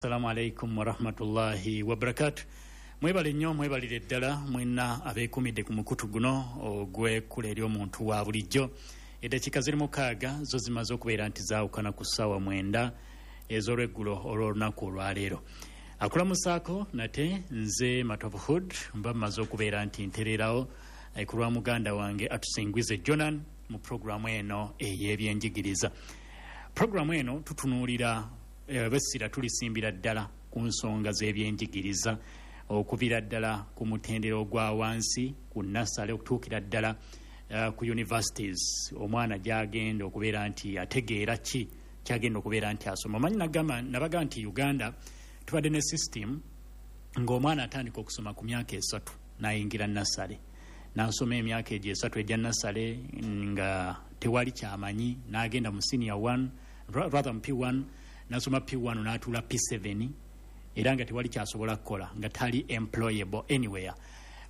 Assalamu alaikum warahmatullahi wabarakatu. Mwebale nnyo, mwebalire ddala mwenna abeekumidde ku mukutu guno ogw'ekkula eri omuntu wa bulijjo. Eddakiika ziri 6 zo zimaze okubeera nti zaawukana ku ssaawa 9 ez'olweggulo olw'olunaku olwaleero. Akulamusaako nate nze Matovu Hood, mba mmaze okubeera nti ntereerawo ku lwa muganda wange Atusingwize Jonan mu puroguramu eno ey'ebyenjigiriza. Puroguramu eno tutunuulira bessira tulisimbira ddala ku nsonga z'ebyenjigiriza okuvira ddala ku mutendera ogwa wansi ku nasale okutuukira ddala ku universities, omwana gy'agenda okubeera nti ategeera ki kyagenda okubeera nti asoma. Omanyi nabaga nti Uganda tubadde ne system ng'omwana atandika okusoma ku myaka 3 n'ayingira nasale, n'asoma emyaka egyo 3 egya nasale nga tewali kyamanyi, n'agenda mu senior 1 rather mu P1, nasoma P1 n'atuula P7 era nga tewali kyasobola kukola, nga tali employable anywhere.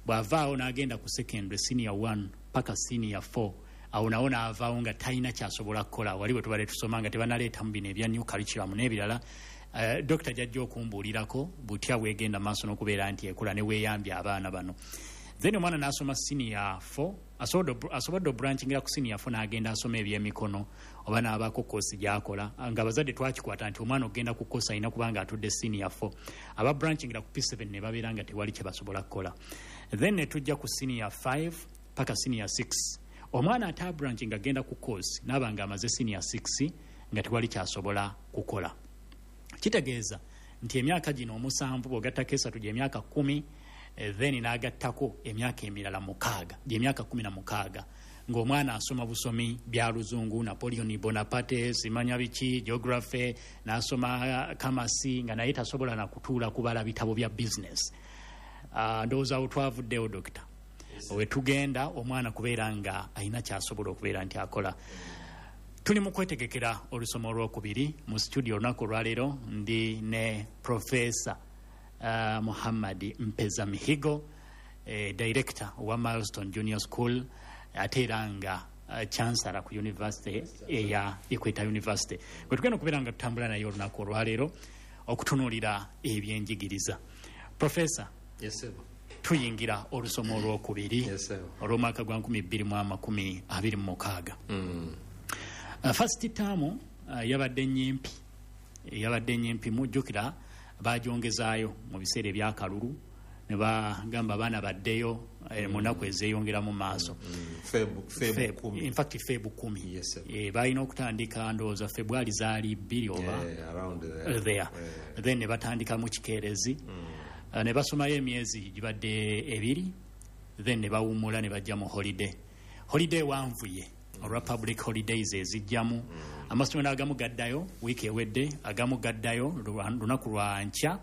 Bw'avaawo n'agenda ku secondary senior 1 paka senior 4, awo nawo n'avaawo nga talina kyasobola kukola. Wali bwe tubadde tusoma nga tebanaleetamu bino ebya new curriculum n'ebirala. Dokita jajja okumbuulirako butya bwegenda maaso n'okubeera nti ekola ne weeyambye abaana bano. Then omwana n'asoma senior 4, asobodde obrankingira ku senior 4 n'agenda asoma ebyemikono oba n'abaako koosi gy'akola. Nga abazadde twakikwata nti omwana okugenda ku koosi alina kubanga atudde senior 4. Aba brankingira ku P7 ne babeera nga tewali kye basobola kukola. Then ne tujja ku senior 5 paka senior 6. Omwana ate abrankinga agenda ku koosi n'aba nga amaze senior 6 nga tewali kyasobola kukola. Kitegeeza nti emyaka gino 7 bw'ogattako 3 gy'emyaka 10, then n'agattako emyaka emirala 6 gy'emyaka 16 ng'omwana asoma busomi bya luzungu, Napoleon Bonaparte, simanya biki, geography, n'asoma kamasi, nga naye tasobola na kutuula kubala bitabo bya business. Ndowooza awo twavuddewo dokita, we tugenda omwana kubeera nga alina kyasobola okubeera nti akola. Tuli mu kwetegekera olusoma olwokubiri mu studio olunaku olwaleero ndi ne Professor Muhammad Mpeza Mihigo, director wa Milestone Junior School, ate era nga chancellor ku university eya Equator University. Bwe tugenda okubeera nga tutambula naye olunaku olwaleero okutunuulira ebyenjigiriza. Professor, yes, sir. Tuyingira olusoma olwokubiri, yes, sir. Olw'omwaka gwa 2026. First term yabadde nnyimpi, mujjukira bagyongezaayo mu biseera ebyakalulu ne bagamba abaana baddeyo mu nnaku ezeeyongera mu maaso. In fact Feb 10. Yes, balina okutandika ndowooza February zaali 2 oba there. Then ne batandika mu kikeerezi, ne basomayo emyezi gibadde 2, then ne bawummula ne bajja mu holiday. Holiday wanvuye olwa public holidays ezijjamu. Amasomero agamu gaddayo wiiki ewedde, agamu gaddayo lunaku lwa nkya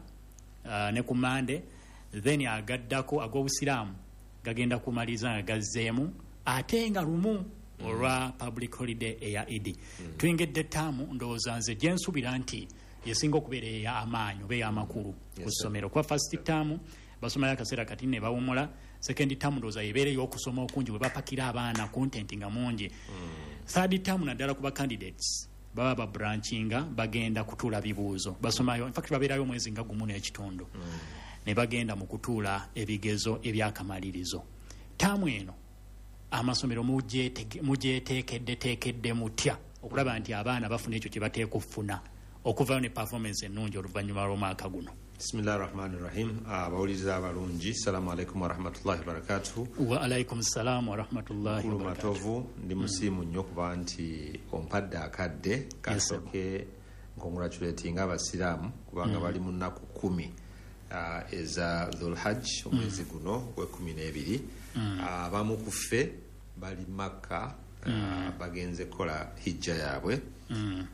ne ku Mande, then agaddako ag'obusiraamu gagenda kumaliriza nga gazzeemu ate nga lumu olwa public holiday eya Idi. Tuyingidde ttaamu ndowooza nze gye nsuubira nti yesinga okubeera ey'amaanyi oba ey'amakulu ku ssomero, kuba first term basomayo akaseera kati ne bawummula, second term ndowooza yebeera ey'okusoma okungi bwe bapakira abaana content nga mungi. Third term naddala ku ba candidates baba babrankinga bagenda kutuula bibuuzo, basomayo in fact babeerayo omwezi nga 1.5 ne bagenda mu kutuula ebigezo ebyakamalirizo. Taamu eno amasomero mugyeteekeddeteekedde mutya okulaba nti abaana bafuna ekyo kye bateeka okufuna okuvayo ne performance ennungi oluvannyuma lw'omwaka guno? Bismillahi rahmani rahim. Abawuliriza abalungi, salamu alaikum warahmatullahi wabarakatuhu. Wa alaikum salamu warahmatullahi wabarakatuhu. Matovu, ndi musiimu nnyo kuba nti ompadde akadde kasooke nkongratulatinga abasiraamu kubanga bali mu nnaku 10 eza Dhul-Hajj, omwezi guno gwe12. Abamu ku ffe bali Makka, bagenze kukola hijja yaabwe,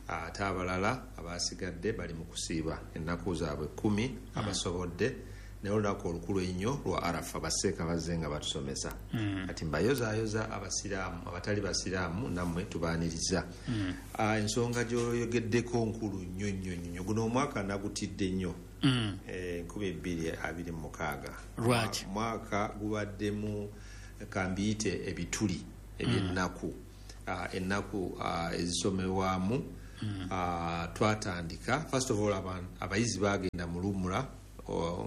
ate abalala abasigadde bali mu kusiiba ennaku zaabwe 10 abasobodde, naye olunaku olukulu ennyo lwa Arafa baseeka bazze nga batusomesa. Kati mbayozaayoza abasiraamu, abatali basiraamu nammwe tubaaniriza. Ensonga gy'oyogeddeko nkulu nnyo nnyo nnyo. Guno omwaka nagutidde nnyo. 2026. Lwaki? Mwaka gubaddemu kambiyite ebituli ebyennaku, ennaku ezisomebwamu Twatandika, first of all, abayizi bagenda mu lumula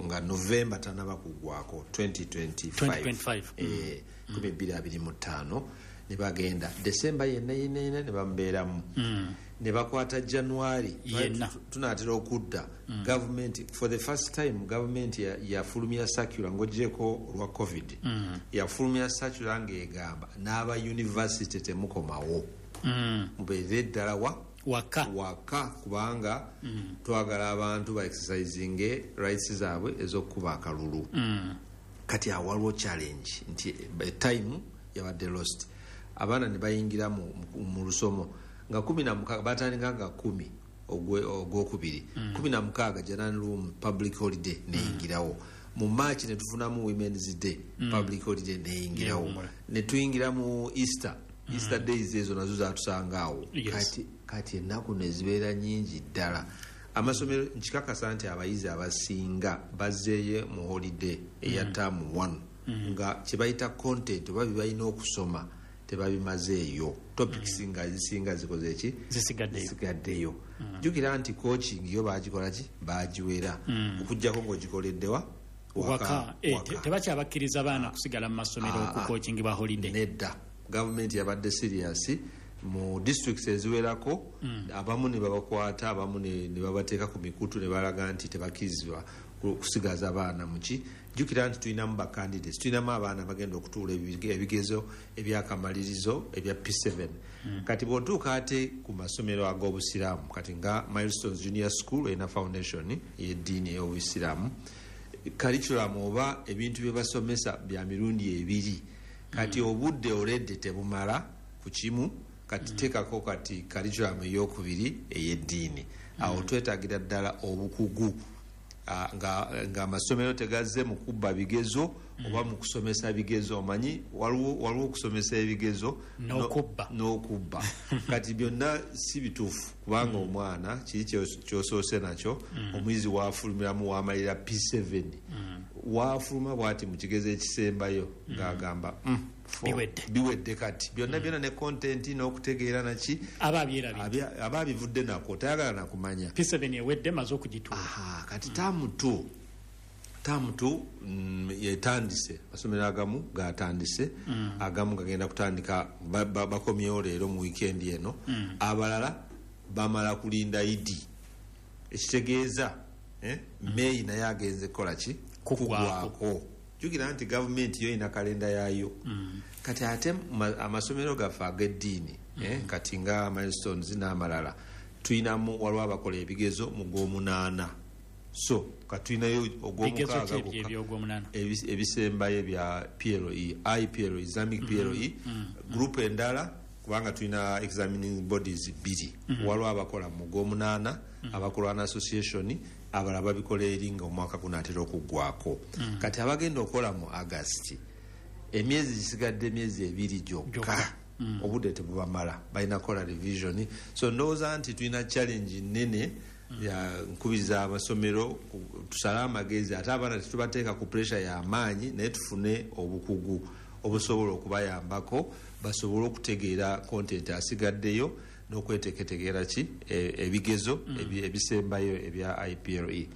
nga November tanaba kugwako 2025. 2025. 2025 ne bagenda December yenna yenna yenna ne bamubeeramu, ne bakwata January. Yenna. Tunaatera okudda. Government, for the first time, government yafulumya circular, ng'ogyeko olwa COVID, yafulumya circular ng'egamba n'aba university temukomawo, mubeere ddala wa waka. Waka, kubanga twagala abantu ba exercisinge rights zaabwe ez'okukuba akalulu. Kati awo waliwo challenge nti time yabadde lost. Abaana ne bayingira mu lusomo nga 16, batandika nga 10 ogwokubiri, 16 January room public holiday neyingirawo. Mu March ne tufunamu Women's Day, public holiday neyingirawo. Neyawummula. Ne tuyingira mu Easter, Easter days ezo nazo zatusanga awo. Kati ennaku nezibeera nyingi ddala. Amasomero, nkikakasa nti abayizi abasinga bazzeeyo mu holiday eya term 1 nga kyebayita content oba byebalina okusoma tebabimazeeyo, topics nga zisinga zikoze ki? Zisigaddeyo. Zisigaddeyo. Jjukira nti coaching yo bagikola ki? Bagiwera, okugjako ng'ogikoleddewa? Waka. Tebakyabakkiriza baana kusigala mu masomero okucoachingibwa holiday. Nedda, gavumenti yabadde serious. Mu districts eziwerako, abamu ne babakwata, abamu ne babateeka ku mikutu ne balaga nti tebakkirizibwa kusigaza baana muki. Jjukira nti tulinamu ba candidates, tulinamu abaana bagenda okutuula ebigezo ebyakamalirizo ebya P7. Kati bw'otuuka ate ku masomero ag'obusiraamu, kati nga Milestones Junior School erina foundation ey'eddiini ey'obusiraamu, curriculum oba ebintu bye basomesa bya mirundi ebiri. Kati obudde already tebumala ku kimu, kati teekako kati curriculum eyokubiri ey'eddiini. Awo twetaagira ddala obukugu. Nga amasomero tegazze mu kubba bigezo oba mu kusomesa bigezo. Omanyi waliwo okusomesa ebigezo n'okubba. N'okubba. Kati byonna si bituufu, kubanga omwana kiri kyosoose nakyo, omuyizi wafulumiramu wamalira P7, wafuluma bwati mu kigezo ekisembayo ng'agamba, Biwedde. Biwedde. Kati byonna byonna ne content n'okutegeera naki Aba abyerabidde. Aba abivudde nako, tayagala nakumanya. P7 ewedde, maze okugituula. Aha, kati term 2, term 2 yetandise. Amasomero agamu gatandise, agamu gagenda kutandika, bakomyewo leero mu weekend eno. Abalala bamala kulinda Idi, ekitegeeza May naye agenze kukola ki? Kuggwako. Kuggwako. Jjukira nti gavumenti yo erina kalenda yaayo. Kati ate amasomero gaffe ag'eddiini, kati nga Milestones n'amalala, tulinamu, waliwo abakola ebigezo mu gw'omunaana, so katulinayo Bigezo ogw'omukaaga ki ebyo gwokka. Ebyogwomunaana? Ebisembayo bya PLE, IPLE, Islamic PLE. Group endala, kubanga tulina examining bodies bbiri, waliwo abakola mu gw'omunaana, abakola association, abalala babikola eri nga omwaka gunaatera okuggwako. Kati abagenda okukola mu August, emyezi gisigadde emyezi 2 gyokka. Gyokka. Obudde tebubamala, balina kukola revision. So ndowooza nti tulina challenge nene ya nkubiriza amasomero tusale amagezi, ate abaana tetubateeka ku pressure y'amaanyi, naye tufune obukugu obusobola okubayambako basobole okutegeera content asigaddeyo n'okweteketegeera ki ebigezo ebisembayo ebya IPLE.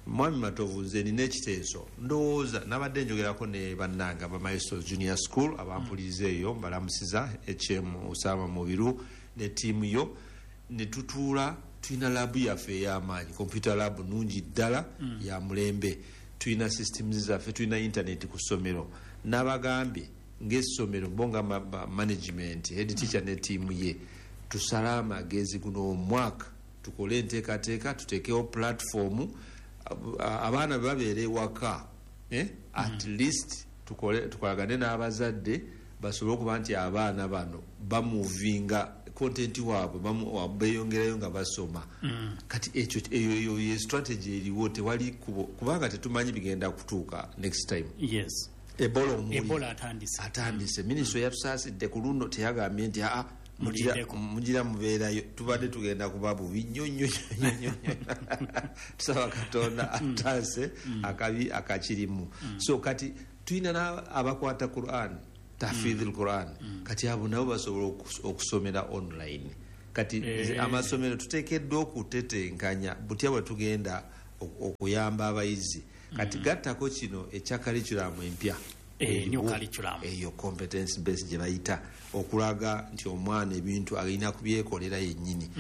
Mwami Matovu, nze nina ekiteeso. Ndowooza nabadde njogerako ne bannange aba Milestones Junior School abampuliriza eyo, mbalamusiza, Usama Mubiru ne ttiimu yo, ne tutuula. Tulina lab yaffe ey'amaanyi, computer lab nungi ddala, ya mulembe. Tulina systems zaffe, tulina internet ku ssomero. N'abagambye ng'essomero bo nga management, head teacher ne ttiimu ye, tusale amagezi guno omwaka tukole enteekateeka, tuteekewo platform abaana bwe babeera ewaka, at least tukolagane n'abazadde basobole okuba nti abaana bano bamuvinga content waabwe, beeyongerayo nga basoma. Kati ekyo eyo ye strategy eriwo. Tewali kubo, kubanga tetumanyi bigenda kutuuka next time. Ebola omuli. Ebola atandise. Atandise. Minisitule yatusaasidde ku luno, teyagambye nti aa Mulindeko. Mugira mubeerayo, tubadde tugenda kuba bubi nnyo nnyo nnyo nnyo nnyo. Tusaba Katonda ataase akabi akakirimu. So kati tulina abakwata Quran, tahfidh Quran, kati abo nabo basobola okusomera online. Kati amasomero tuteekeddwa okutetenkanya butya bwe tugenda okuyamba abayizi. Kati gattako kino ekya curriculum empya, new curriculum eyo competence based gye bayita, okulaga nti omwana ebintu alina kubyekolera yennyini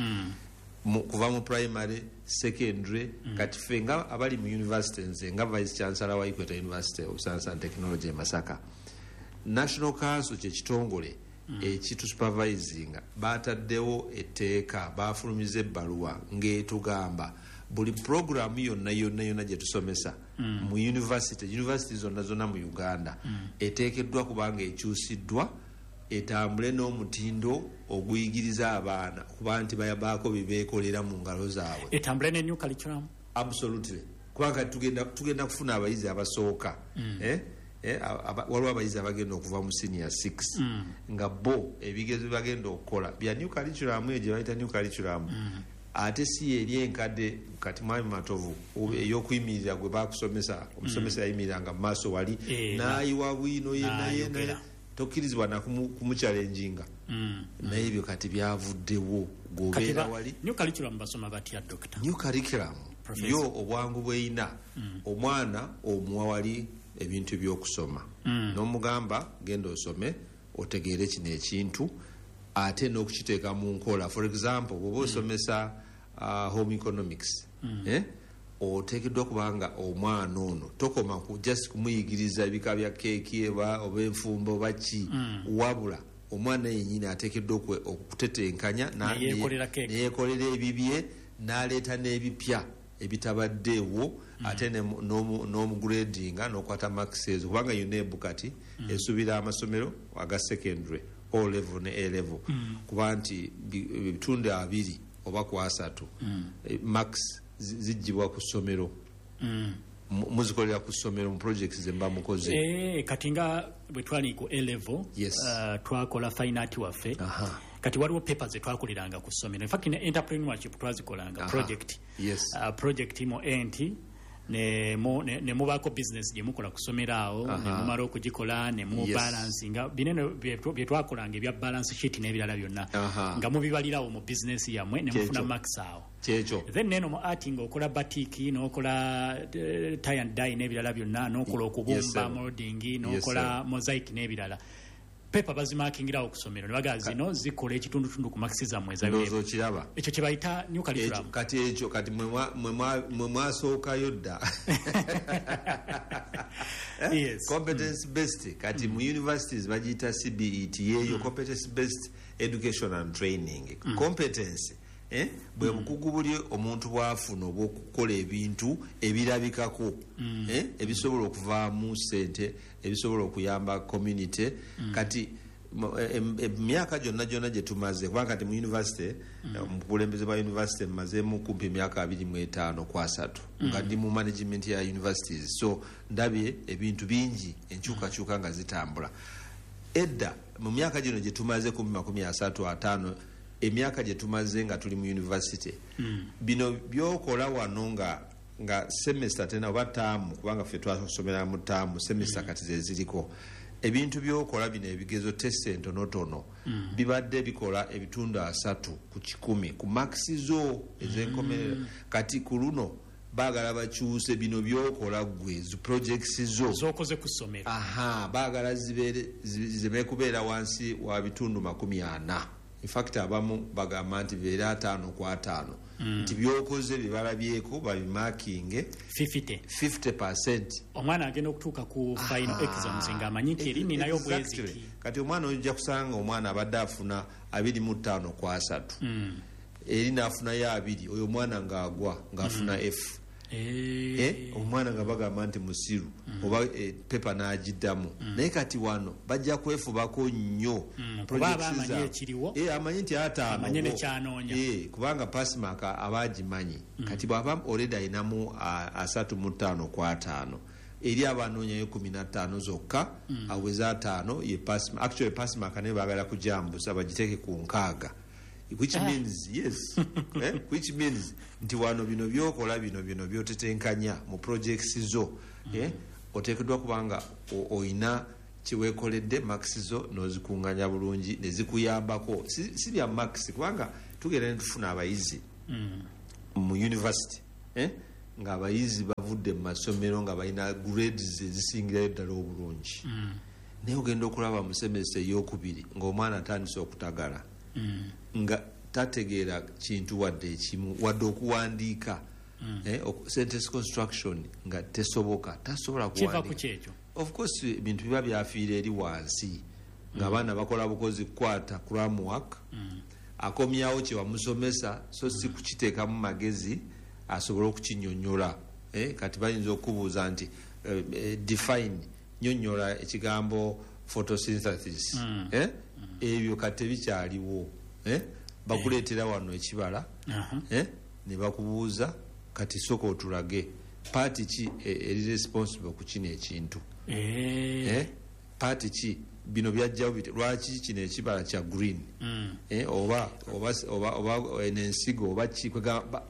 kuva mu primary, secondary. Kati ffe nga abali mu university, nze nga vice chancellor wa Equator University of Science and Technology e Masaka, National Council kyekitongole ekitusupervisinga, bataddewo etteeka, bafulumiza ebbaluwa ng'etugamba buli programu yonna yonna yonna gye tusomesa mu university zonna zonna mu Uganda eteekeddwa kubanga ekyusiddwa etambule n'omutindo oguyigiriza abaana kuba nti bayabaako bibeekolera mu ngalo zaabwe. Etambule ne new curriculum. Absolutely, kubanga tugenda kufuna abayizi abasooka, waliwo abayizi abagenda okuva mu senior 6 nga bo ebigezo bagenda okukola bya new curriculum, eyo gye bayita new curriculum, ate si eri enkadde. Kati Mwami Matovu, ey'okuyimirira gwe bakusomesa, omusomesa yayimiriranga mu maaso wali n'ayiwa bwino yenna, tokkirizibwa na kumuchallenginga. Naye ebyo kati byavuddewo, gobeera wali. New curriculum basoma batya, doctor? New curriculum yo obwangu bweyina, omwana omuwa wali ebintu by'okusoma n'omugamba genda osome otegeere kino ekintu ate n'okukiteeka mu nkola. For example, bw'oba osomesa home economics, oteekeddwa kubanga omwana ono tokoma ku just kumuyigiriza ebika bya keeki oba enfumba oba ki, wabula omwana yennyini ateekeddwa okutetenkanya neyekolera ebibye n'aleeta n'ebipya ebitabaddeewo, ate n'omugradinga n'okwata marks ezo, kubanga UNEB kati esuubira amasomero aga secondary, O level ne A level, kuba nti ebitundu 20 oba 30 marks zijjibwa ku ssomero, muzikolera ku ssomero mu projects ze mba mukoze. Kati nga bwe twali ku A level, twakola fine art waffe. Kati waliwo papers ze twakoleranga ku ssomero. In fact, ne entrepreneurship twazikolanga project. Project mu enti ne mubaako business gye mukola ku ssomero awo, ne mumala okugikola ne mu balancinga binene bye twakolanga ebya balance sheet n'ebirala byonna, nga mubibalirawo mu business yammwe ne mufuna marks awo. Kyekyo. Then neno mu art ng'okola batik, n'okola tie and dye n'ebirala byonna, n'okola okubumba, molding, n'okola mosaic n'ebirala. Pepa bazimakingirawo ku ssomero ne bagamba zino zikola ekitundutundu ku marks zammwe. Ndowooza okiraba. Ekyo kye bayita new curriculum. Kati ekyo kati mwe mwasookayo dda. Competence based. Kati mu universities bagiyita CBET, yeeyo competence based education and training. Competence bwe bukugu buli omuntu bw'afuna obw'okukola ebintu ebirabikako, ebisobola okuvaamu ssente, ebisobola okuyamba community. Kati emyaka gyonna gyonna gye tumaze, kubanga kati mu university, mu bukulembeze bwa university mmazeemu kumpi emyaka 25 ku 30 nga ndi mu management ya universities, so ndabye ebintu bingi, enkyukakyuka nga zitambula. Edda mu myaka gino gye tumaze kumpi 35, emyaka gye tumaze nga tuli mu university, bino byokola wano nga semester tena oba taamu, kubanga ffe twasomera mu taamu, semester kati ze ziriko, ebintu byokola bino ebigezo, test entonotono, bibadde bikola ebitundu 30 ku 100 ku marks zo ez'enkomerero. Kati ku luno baagala bakyuse bino byokola ggwe, zi projects zo z'okoze ku ssomero. Baagala zireme kubeera wansi wa bitundu 40. In fact, abamu bagamba nti beera 5 ku 5, nti byokoze bibalabyeko babimakinge 50%. 50%. Omwana agenda okutuuka ku final exams ng'amanyi nti eri ninayo bweziti. Kati omwana ojja kusanga omwana abadde afuna 25 ku 30, eri n'afunayo 2, oyo omwana ng'agwa ng'afuna F. Omwana nga bagamba nti musiru, oba pepa n'agiddamu. Naye kati wano bajja kwefubako nnyo. Amanyi nti 5 kubanga pass mark aba agimanyi. Kati bw'aba already ayinamu 35 ku 5, eri abanoonyayo 15 zokka, aweze 5 ye pass. Actually pass mark naye baagala kujambusa bagiteeke ku 60. Which means yes, which means nti wano bino byokola bino byotetenkanya mu projects zo, oteekeddwa kubanga oyina kiweekoledde marks zo n'ozikunganya bulungi ne zikuyambako. Si bya marks, kubanga Tugenda netufuna abayizi mu university, ng'abayizi bavudde mu masomero nga balina grades ezisingirayo ddala obulungi, naye ogenda okulaba mu semester eyokubiri ng'omwana atandise okutagala, nga tategeera kintu wadde ekimu, wadde okuwandiika, sentence construction nga tesoboka, tasobola Kiva ku kuwandiika. Kyekyo. Of course ebintu biba byafiira eri wansi, ng'abaana bakola bukozi kukwata cram work, akomyawo kye wamusomesa, so si kukiteekamu magezi asobole okukinyonyola. Kati bayinza okubuuza nti define, nyonyola ekigambo photosynthesis. Ebyo kati tebikyaliwo. Bakuleetera wano ekibala, ne bakubuuza, kati soka otulage part ki eri responsible ku kino ekintu. Part ki bino byajjawo lwaki kino ekibala kya green? Oba eno ensigo oba ki?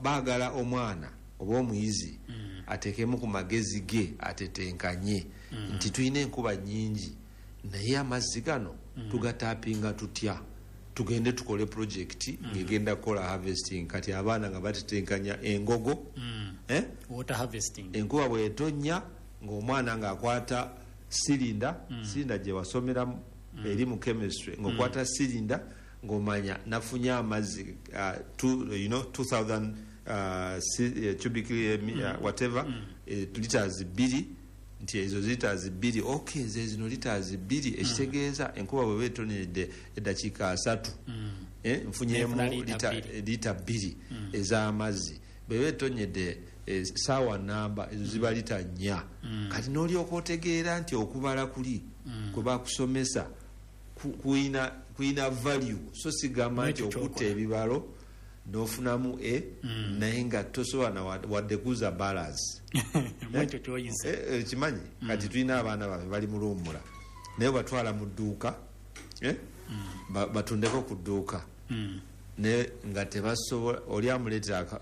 Baagala omwana oba omuyizi ateekemu ku magezi ge, atetenkanye nti tulina enkuba nyingi, naye amazzi gano tugatapinga tutya? Tugende tukole project ng'egenda kukola harvesting. Kati abaana nga batetenkanya engogo, eh? Water harvesting. Enkuba bwetonya, ng'omwana ng'akwata sirinda, sirinda gye wasomeramu eri mu chemistry, ng'okwata sirinda ng'omanya nafunye amazzi 2000 cubic whatever, liters 2, nti ezo liters 2, okay, ze zino liters 2, ekitegeeza enkuba bweba etonedde eddakiika 30, nfunyemu Nefuna lita lita 2. Lita 2 ez'amazzi. Bweba etonyedde saawa namba, ezo ziba lita 4. Kati n'olyoka otegeera nti okubala kuli kwe bakusomesa kuyina value, so sigamba nti N'ekyo okutta ky'okola. ebibalo n'ofunamu e, naye nga tosobola na wadde kuza balance. Mwekyo kyoyise. Kimanyi kati tulina abaana baffe bali mu luwummula, naye batwala mu dduuka, batundeko ku dduuka, naye nga tebasobola. Oli amuleetera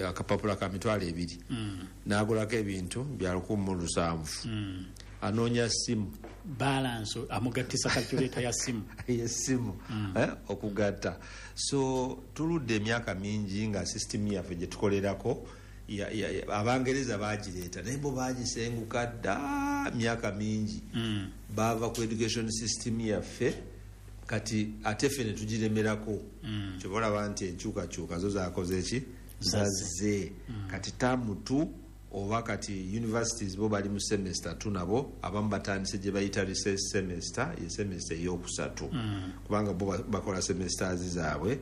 akapapula ka 20,000, n'agulako ebintu bya 1700, anoonya simu. Balance amugattisa calculator ya simu. Yesimu, okugatta. So tuludde emyaka mingi nga system yaffe gye tukolerako Abangereza bagireeta, naye bo bagisenguka dda myaka mingi, bava ku education system yaffe. Kati ate ffe ne tugiremerako. Kyoba olaba nti enkyukakyuka zo zakoze eki, zazze. Kati term 2, oba kati universities bo bali mu semester 2, nabo abamu batandise gye bayita recess semester, ye semester eyokusatu, kubanga bo bakola semesters zaabwe,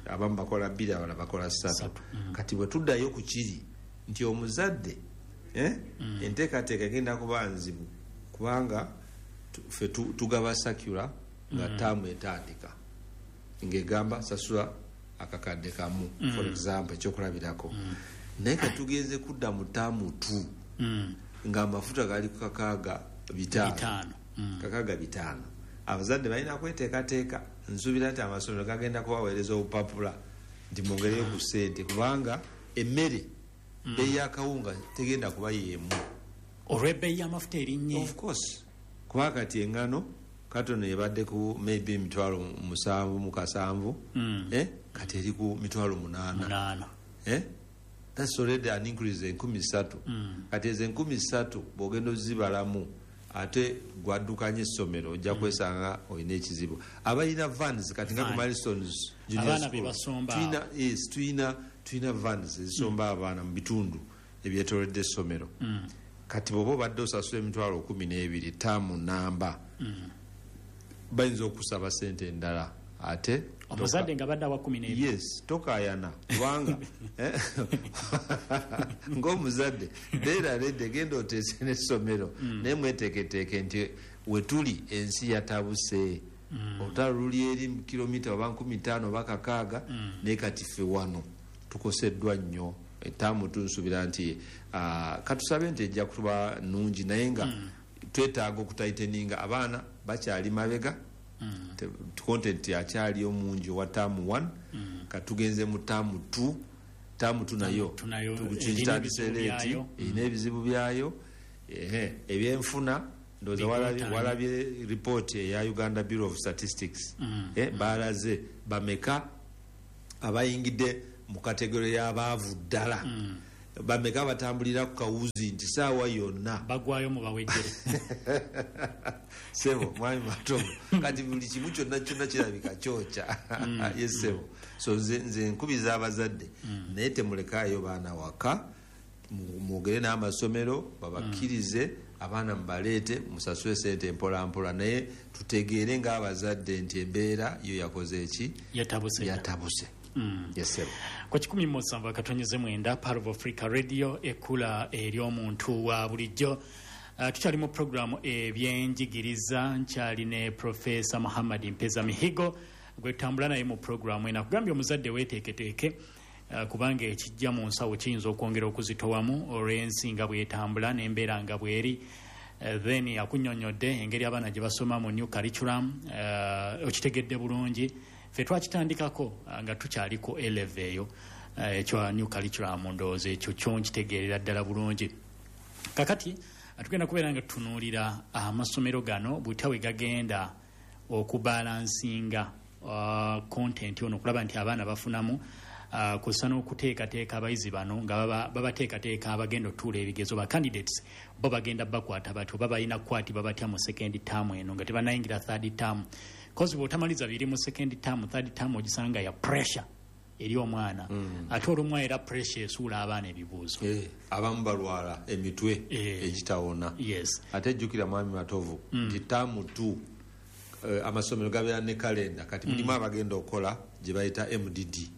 abamu bakola 2, abalala bakola 3. Kati bwe tuddayo ku kiri nti omuzadde, enteekateeka egenda kuba nzibu, kubanga ffe tugaba circular nga taamu etandika, ng'egamba sasula akakadde kamu, for example, ekyokulabirako. Naye katugenze kudda mu term 2 ng'amafuta gali ku 65. 5. 65. Abazadde balina kweteekateeka. Nsuubira nti amasomero gagenda kubaweereza obupapula nti mwongereyo ku ssente, kubanga emmere, bbeeyi y'akawunga tegenda kuba yeemu. Olw'ebbeeyi y'amafuta erinnye. Of course, kuba kati engano katono ebadde ku maybe 77,000, kati eri ku 800,000. 8. That's already an increase 3,000. Kati ezo 3,000 bw'ogenda ozibalamu, ate gwaddukanya essomero, ojja kwesanga olina ekizibu. Abalina vans kati nga ku Van. Milestones Junior Abaana School, be basomba. Tulina, yes, tulina vans ezisomba abaana mu bitundu ebyetoolodde essomero. Kati bw'oba obadde osasula 12,000 taamu namba, bayinza okusaba sente endala ate. Omuzadde nga badde awa 12. Yes, tokayana, kubanga ng'omuzadde beera redde, genda oteese n'essomero, naye mweteeketeeke nti wetuli ensi yatabuse, olutalo luli eri kilomita oba 5,000 oba 6,000, naye kati ffe wano tukoseddwa nnyo. Etaamu tunsuubira nti katusabe nti ejja kuba nungi, naye nga twetaaga okutighteninga. Abaana bakyali mabega, content akyali omungi owa term 1. Katugenze mu term 2. Term 2 nayo two nayo tukitandise erina ebizibu late, byayo. erina ebizibu byayo. Ehe, ebyenfuna ndowooza Bigotanye. walabye report eya Uganda Bureau of Statistics, balaze bameka Abayingidde mu category y'abaavu ddala, bameka batambulira ku kawuzi nti saawa yonna bagwayo mu bawejjere? Sebo mwami Matovu, kati buli kimu kyonna kyonna kirabika kyokya. Yes sebo. So nze nkubiza abazadde, naye temulekaayo baana waka. Mwogere n'amasomero babakkirize, abaana mubaleete, musasule sente mpolampola, naye tutegeere ng'abazadde nti embeera yo yakoze eki? Yatabuse. Yatabuse. Yes sebo. Ku 107.9 Pearl of Africa Radio, ekkula ery'omuntu wa bulijjo. Tukyali mu programu ebyenjigiriza, nkyali ne Profesa Muhammad Mpeza Mihigo gwe tutambula naye mu programu eno. Akugambye omuzadde weeteeketeeke, kubanga ekijja mu nsawo kiyinza okwongera okuzitowamu olw'ensi nga bwetambula n'embeera nga bweri. Then akunnyonnyodde engeri abaana gye basoma mu new curriculum. Okitegedde bulungi. Ffe twakitandikako nga tukyaliko eleve eyo, ekya new curriculum. Ndowooza ekyo kyo nkitegeerera ddala bulungi. Kakati tugenda kubeera nga tutunuulira amasomero gano butya we gagenda okubalansinga content ono, okulaba nti abaana bafunamu, kussa n'okuteekateeka abayizi bano nga babateekateeka abagenda otuula ebigezo. Ba candidates bo bagenda bakwata batyo oba balina kukwatibwa batya mu second term eno nga tebanayingira third term? 'Cause bw'otamaliza biri mu second term, third term ogisanga ya pressure eri omwana. Ate olumu era pressure esuula abaana ebibuuzo. Abamu balwala emitwe egitawona. Ate jjukira mwami Matovu nti term 2 amasomero gabeera ne kalenda. Kati mulimu abagenda okukola gye bayita MDD,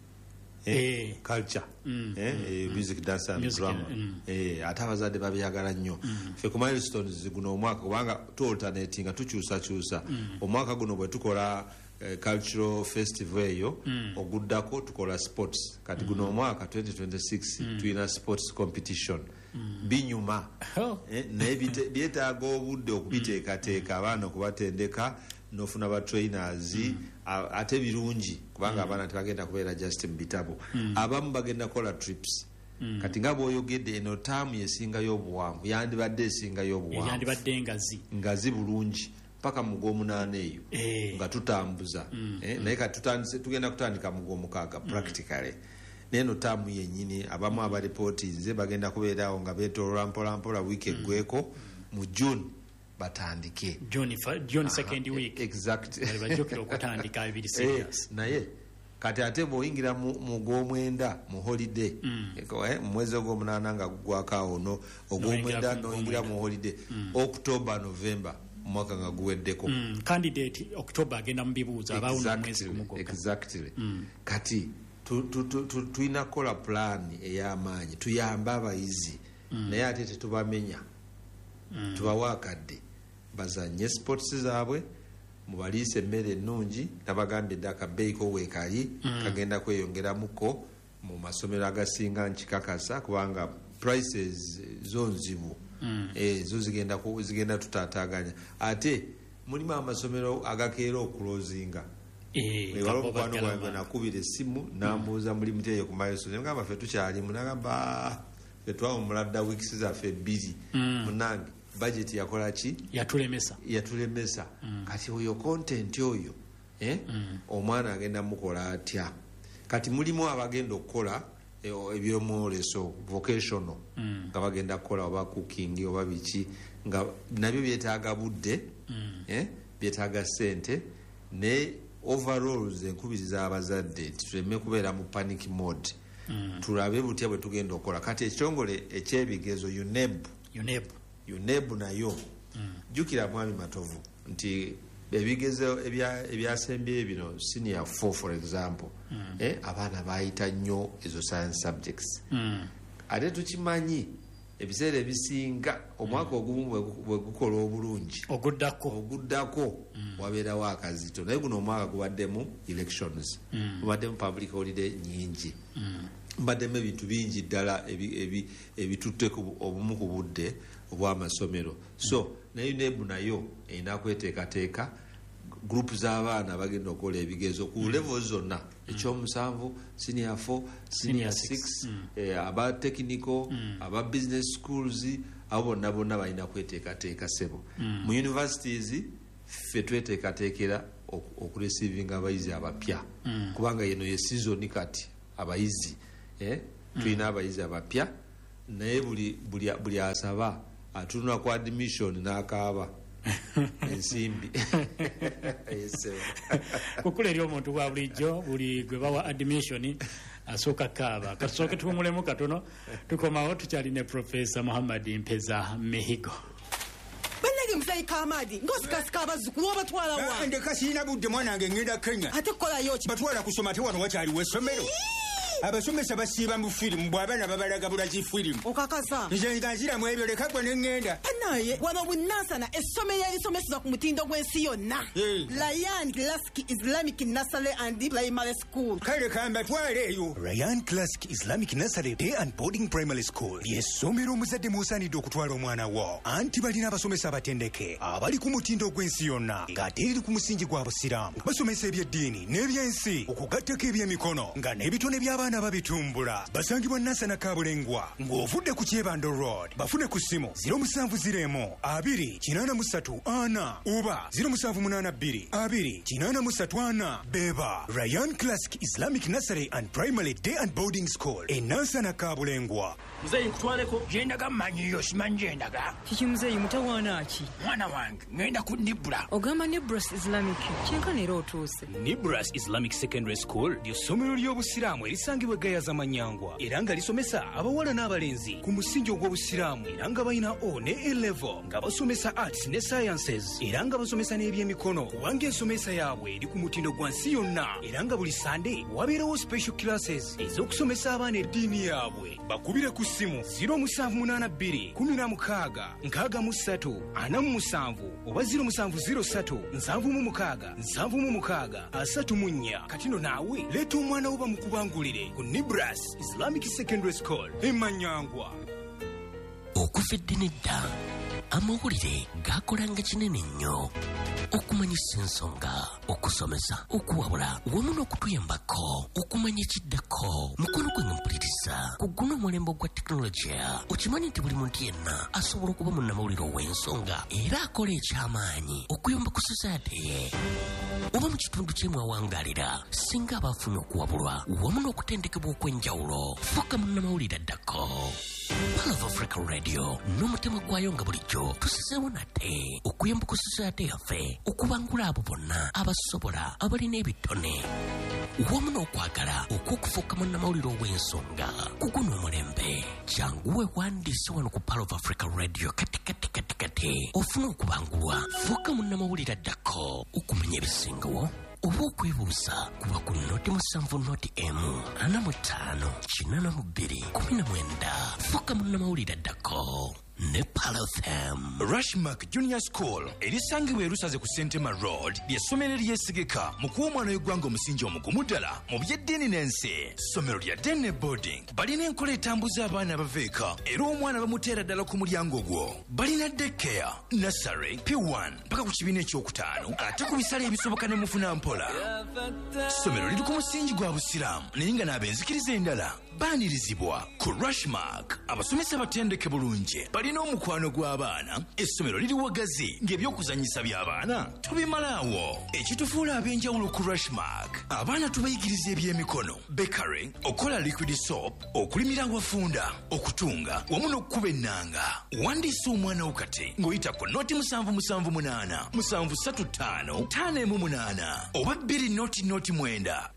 culture, music, dance and Music, drama. Ate abazadde babyagala nnyo. Ffe ku Milestones guno omwaka, kubanga tu alternatinga, tukyusakyusa, omwaka guno bwe tukola cultural festival eyo, oguddako tukola sports. Kati guno omwaka 2026 tulina sports competition. Binyuma. Naye byetaaga obudde okubiteekateeka, abaana okubatendeka, nofuna ba trainers. Ate birungi kubanga abaana tebagenda kubeera just mu bitabo, abamu bagenda kukola trips. Kati nga bw'oyogedde, eno taamu yesingayo obuwanvu, yandibadde esingayo obuwanvu. Yandibadde ngazi. Ngazi bulungi paka mu gw'omunaana eyo nga tutambuza. Naye kati tugenda kutandika mu gw'omukaaga practically. Naye eno taamu yennyini abamu abaripootinze bagenda kubeeraawo nga beetolola mpolampola, wiiki eggweko mu June batandike. June second week. Exact. Bali bajjukira okutandika ebiri serious. Naye kati ate bw'oyingira mu gw'omwenda mu holiday, mu mwezi ogw'omunaana nga gugwako awo, no ogw'omwenda N'oyingira mu n'oyingira mu holiday, October, November, omwaka nga guweddeko. Candidate October agenda mu bibuuzo, abaawo n'omwezi gumu gwokka. Exactly. Kati tulina kukola pulaani ey'amaanyi tuyambe abayizi, naye ate tetubamenya, tubawe akadde bazanye sports zaabwe, mubaliise emmere ennungi. Nabagambye dde akabeeyiko weekali kagenda kweyongeramuko mu masomero agasinga, nkikakasa, kubanga prices zo nzibu. Zo zigenda tutaataganya. Ate mulimu amasomero agakeera okulozinga. Waliwo Kabo omukwano baggala gwange abantu. Nakubira essimu nambuuza mulimu teyo ku Milestones, ngamba ffe tukyalimu, nagamba, "Ah, ffe twawumula dda weeks zaffe 2, munange budget yakola ki?" Yatulemesa. Yatulemesa. Kati oyo content oyo, omwana agenda mukola atya? Kati mulimu abagenda okukola ebyomwoleso, vocational, nga bagenda kukola oba cooking oba biki, nga nabyo byetaaga budde, byetaaga sente. Ne overall nze nkubiriza abazadde nti tuleme kubeera mu panic mode, tulabe butya bwe tugenda okukola. Kati ekitongole ekyebigezo, UNEB, UNEB. UNEB nayo, jjukira mwami Matovu nti ebigezo ebyasembyeyo bino, senior 4 for example, abaana bayita nnyo ezo science subjects. Ate tukimanyi ebiseera ebisinga omwaka ogumu bwe gukola obulungi, oguddako oguddako wabeerawo akazito. Naye guno omwaka gubaddemu elections, gubaddemu public holiday nyingi, mbaddemu ebintu bingi ddala ebitutte obumu ku budde obw'amasomero. So naye UNEB nayo erina kweteekateeka group z'abaana bagenda okukola ebigezo ku levels zonna, ekyomusanvu, senior 4, senior Senior six. 6, aba technical, aba business schools, abo bonna bonna balina kweteekateeka sebo. Mu universities ffe tweteekateekera okureceivinga abayizi abapya, kubanga yeno ye season kati abayizi tulina abayizi abapya, naye buli asaba atunula ku admission n'akaaba ensimbi. Kukula eri omuntu wa bulijjo, buli gwe bawa admission asooka kaaba. Kasooke tuwumulemu katono, tukomawo tukyali ne Profesa Muhammad Mpeza Mihigo. Bannange, muzeeyi Kamadi, ng'osikasika abazzukulu, obatwala wa? Ndeka, sirina budde, mwana wange, ngenda Kenya. Ate kukolayo ki? Batwala kusoma, ate wano wakyaliwo essomero? Abasomesa basiiba mu firimu, bw'abaana babalaga bulazi firimu. Okakasa? Nze nga nziramu ebyo, leka gwe ne ŋŋenda. Banaye, wano bunansana, essomero erisomeseza ku mutindo gw'ensi yonna, Ryan Classic Islamic Nursery and Primary School. Kale kambatwale eyo. Ryan Classic Islamic Nursery Day and Boarding Primary School lyessomero omuzadde mw'osaanidde okutwala omwana wo, anti balina abasomesa abatendeke abali ku mutindo gw'ensi yonna, ng'ate eri ku musingi gwa Busiraamu. Basomesa ebyeddiini n'ebyensi, okugattako ebyemikono, nga n'ebitone by'abaana babitumbula. Basangibwa Nansana Kabulengwa ng'ovudde ku Kyebando Road. Bafune ku ssimu 0701 2 83 4 oba 0782 2 83 4. Beba Ryan Classic Islamic Nursery and Primary Day and Boarding School e Nansana Kabulengwa. Muzeeyi, nkutwaleko. Gyendaga mmanyiyo, simanyi gyendaga. Kiki muzeeyi, mutawaana ki? Mwana wange, ŋŋenda ku Nibura. Ogamba Nibras Islamic, kyenkana era otuuse. Nibras Islamic Secondary School ly'essomero ly'Obusiraamu erisangibwa e Gayaza Manyangwa, era nga lisomesa abawala n'abalenzi ku musingi ogw'Obusiraamu, era nga balina O ne A level, nga basomesa arts ne sciences, era nga basomesa n'ebyemikono, kubanga ensomesa yaabwe eri ku mutindo gwa nsi yonna, era nga buli Sande wabeerawo special classes ez'okusomesa abaana eddiini yaabwe. Bakubire ku ssimu 0782 16 63 47 oba 0703 76 76 34. Kati no naawe leeta omwana wo bamukubangulire ku Nibras Islamic Secondary School Emanyangwa. Okuva edda nedda, amawulire gakolanga kinene nnyo okumanyisa ensonga, okusomesa, okuwabula wamu n'okutuyambako okumanya ekiddako. Mukono gwange mpuliriza, ku guno omulembe ogwa tekinologiya, okimanyi nti buli muntu yenna asobola okuba munnamawulire ow'ensonga era akola ekyamaanyi okuyamba ku society ye oba mu kitundu kyemwawangalira, singa aba afunye okuwabulwa wamu n'okutendekebwa okw'enjawulo. Fuuka munnamawulire addako. Pearl of Africa Radio n'omutima gwayo nga bulijjo tusizeewo nate okuyamba ku society yaffe okubangula abo bonna abasobola, abalina ebitone wamu n'okwagala okw'okufuuka munnamawulire ow'ensonga ku guno omulembe. Jangu weewandiise wano ku Pearl of Africa Radio kati kati kati kati, ofune okubangulwa, fuuka munnamawulire addako. Okumanya ebisingawo oba okwebuuza, kuba ku 070 1 45 82 19. Fuuka munnamawulire addako ne Pearl FM. Rushmark Junior School erisangibwa erusaze ku Sentema Road ly'essomero eryesigika mu kuwa omwana w'eggwanga omusingi omugumu ddala mu by'eddiini n'ensi. Ssomero lya day ne boarding, balina enkola etambuza abaana abava eka, era omwana bamuteera ddala ku mulyango gwo. Balina daycare, nursery, P1 paka ku kibiina ekyokutaano, ate ku bisale ebisoboka ne mufuna mpola. Ssomero liri ku musingi gwa Busiraamu, naye nga n'ab'enzikiriza endala baanirizibwa. Ku Rushmark abasomesa batendeke bulungi, balina omukwano gw'abaana. Essomero liri wagazi ng'ebyokuzanyisa by'abaana tubimalaawo. Ekitufuula ab'enjawulo ku Rushmark, abaana tubayigiriza ebyemikono, bakery, okukola liquid soap, okulimira awafunda, okutunga wamu n'okukuba ennanga. Wandiisa omwana wo kati ng'oyita ku 077 735 518 oba 2 0 0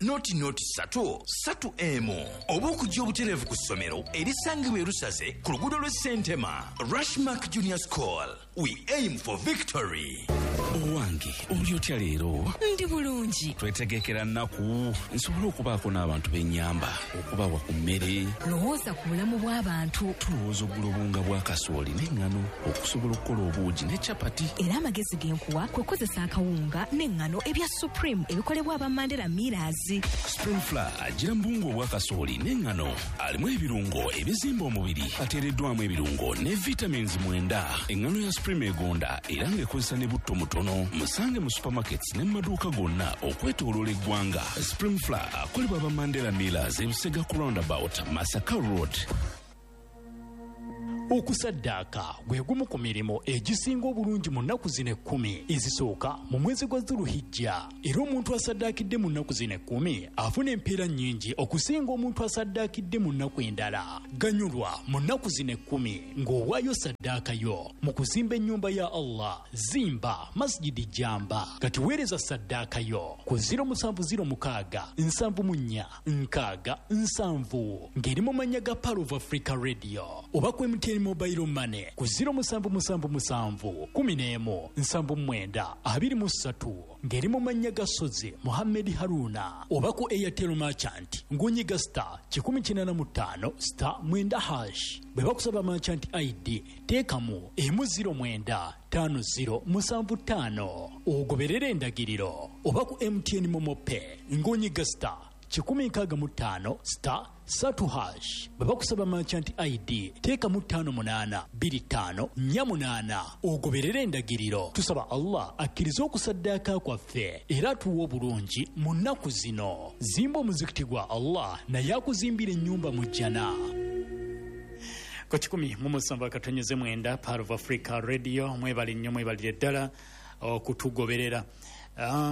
9 0 0 3 3 1, oba okujja obutereevu ku ssomero erisangibwa erusaze ku luguudo lw'e Sentema. Rushmark Junior School, we aim for victory. Owange, oli otya leero? Ndi bulungi. Twetegekera nnaku nsobole okubaako n'abantu b'ennyamba okubawa ku mmere. Lowooza ku bulamu bw'abantu. Tulowooza okugula obuwunga bwa kasooli n'eŋŋano okusobola okukola obuugi ne capati. Era amagezi ge nkuwa kwe kukozesa akawunga n'eŋŋano ebya Supreme ebikolebwa aba Mandela Millers. Supreme Flour agira mu buwunga obwa kasooli n'eŋŋano, alimu ebirungo ebizimba omubiri, ateereddwamu ebirungo ne vitamins 9. Eŋŋano ya Supreme egonda era ng'ekozesa ne butto mutono. Musange mu supermarkets ne mu maduuka gonna okwetooloola eggwanga. Supreme Flour akolebwa aba Mandela Millers, ebusega ku Roundabout, Masaka Road. Okusaddaaka gwe gumu ku mirimu egisinga obulungi mu nnaku zino 10 ezisooka mu mwezi gwa Dhuluhijja. Era omuntu asaddaakidde mu nnaku zino 10 afuna empeera nnyingi okusinga omuntu asaddaakidde mu nnaku endala. Ganyulwa mu nnaku zino 10 ng'owaayo saddaaka yo mu kuzimba ennyumba ya Allah. Zimba Masjidi Jamba. Kati weereza saddaaka yo ku 0706 74 60 70 ng'eri mu mannya ga Pearl of Africa Radio oba ku MTN Mobile Money ku 0777 11 79 23 ng'eri mu mannya ga Sozi Muhammed Haruna oba ku Airtel Merchant ng'onyiga star 185 star 9 hash. Bwe bakusaba Merchant ID teekamu 09 50 75 ogoberere endagiriro oba ku MTN Momo Pay ng'onyiga star 165 star 3 hash. Bwe bakusaba Merchant ID teekamu 58 25 48 ogoberere endagiriro. Tusaba Allah akkirize okusaddaaka kwaffe era atuwe obulungi mu nnaku zino. Zimba omuzikiti gwa Allah naye akuzimbira ennyumba mu jjana. Ku 107.9 Pearl of Africa Radio. Mwebale nnyo, mwebalire ddala okutugoberera.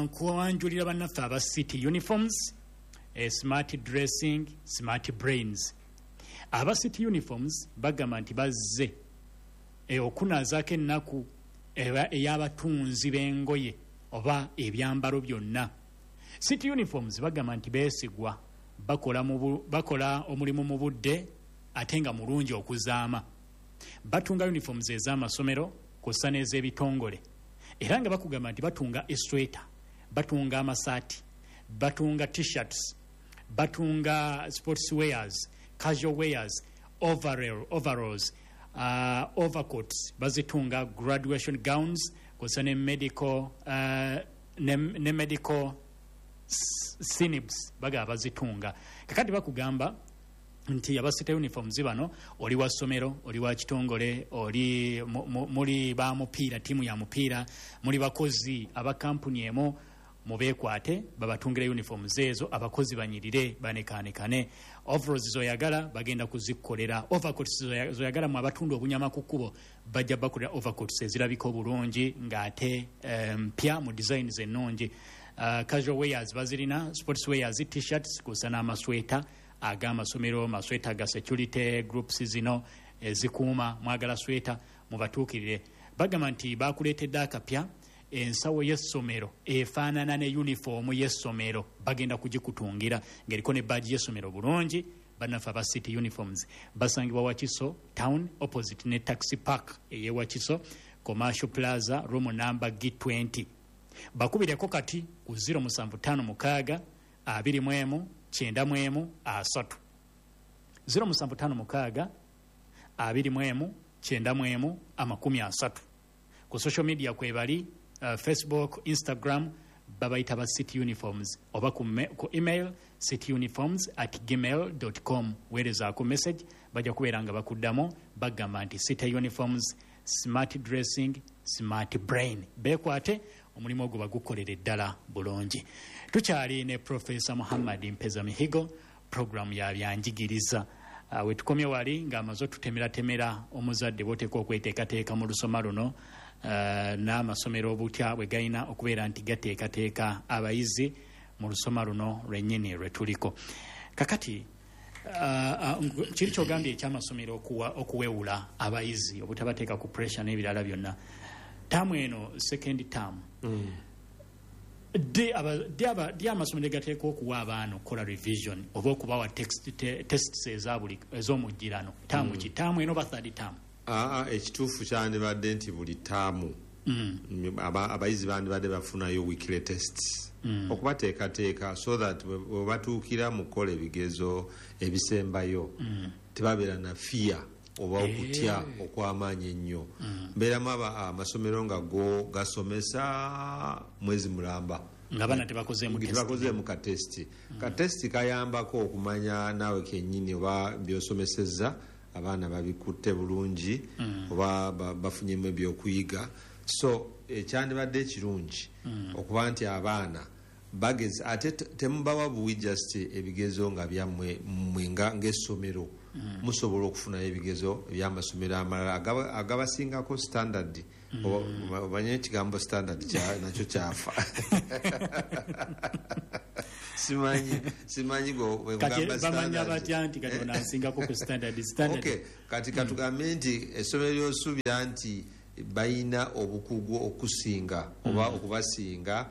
Nkuwanjulira bannaffe aba City Uniforms, smart dressing, smart brains. Aba City Uniforms bagamba nti bazze okunaazaako ennaku ey'abatunzi b'engoye oba ebyambalo byonna. City Uniforms bagamba nti beesigwa, bakola omulimu mu budde ate nga mulungi okuzaama. Batunga uniforms ez'amasomero kw'ossa n'ez'ebitongole, era nga bakugamba nti batunga esweta, batunga amasaati, batunga t-shirts, batunga sports wears, casual wears, overalls, overcoats, bazitunga graduation gowns kw'ossa ne medical ne medical sinibs bagaba bazitunga. Kakati bakugamba nti aba City Uniforms bano, oli wa ssomero, oli wa kitongole, oli muli ba mupiira, ttiimu ya mupiira, muli bakozi aba kampuni emu, mubeekwate babatungire uniforms ezo, abakozi banyirire banekaanekane. Overalls zoyagala bagenda kuzikolera, overcoats zoyagala mu abatunda obunyama ku kkubo bajja bakolera overcoats ezirabika obulungi ng'ate mpya mu designs ennungi. Casual wears bazirina, sports wears, t-shirts kw'ossa n'amasweta ag'amasomero, masweta ga security groups zino ezikuuma. Mwagala sweta, mubatuukirire. Bagamba nti bakuleetedde akapya, ensawo y'essomero efaanana ne yunifoomu y'essomero, bagenda kugikutungira ng'eriko ne badge y'essomero bulungi. Bannaffe aba City Uniforms basangibwa Wakiso Town, opposite ne Taxi Park ey'e Wakiso, Commercial Plaza, room number G20. Bakubireko kati ku 0756 21 91 30, 0756 21 91 30. Ku social media kwebali, Facebook, Instagram, babayita ba City Uniforms, oba ku email cityuniforms@gmail.com. Weerezaako message, bajja kubeera nga bakuddamu. Bagamba nti City Uniforms, smart dressing, smart brain. Beekwate, omulimu ogwo bagukolere ddala bulungi. Tukyali ne Profesa Muhammad Mpeza Mihigo, programu ya byanjigiriza. Wetukomye wali ng'amaze otutemeratemera omuzadde bw'oteekwa okweteekateeka mu lusoma luno, n'amasomero obutya bwe galina okubeera nti gateekateeka abayizi mu lusoma luno lwennyini lwe tuliko kakati. Kiri kyogambye ekyamasomero okuwewula abayizi, obutabateeka ku pressure n'ebirala byonna. Taamu eno, second term, ddi amasomero gateekwa okuwa abaana okukola revision oba okubawa tests ezabuli ez'omujjirano? Taamu ki, taamu eno oba third term? Aa, ekituufu kyandibadde nti buli taamu abayizi bandibadde bafunayo weekly tests okubateekateeka so that bwe batuukira mu kukola ebigezo ebisembayo tebabeera na fear oba okutya okw'amaanyi ennyo. Mbeeramu amasomero nga go gasomesa mwezi mulamba nga abaana tebakozeemu test. Tebakozeemu katesiti. Katesiti kayambako okumanya naawe kennyini oba byosomesezza abaana babikutte bulungi oba bafunyemu ebyokuyiga. So ekyandibadde ekirungi okuba nti abaana bagezi, ate temubawa buwi just ebigezo nga byammwe mmwe ng'essomero. Musobola okufunayo ebigezo ebyamasomero amalala agabasingako standard. Omanye ekigambo standard nakyo kyafa. Simanyi bamanya batya nti kati onansingako ku standard. Okay, kati katugambe nti essomero lyosuubira nti balina obukugu okusinga oba okubasinga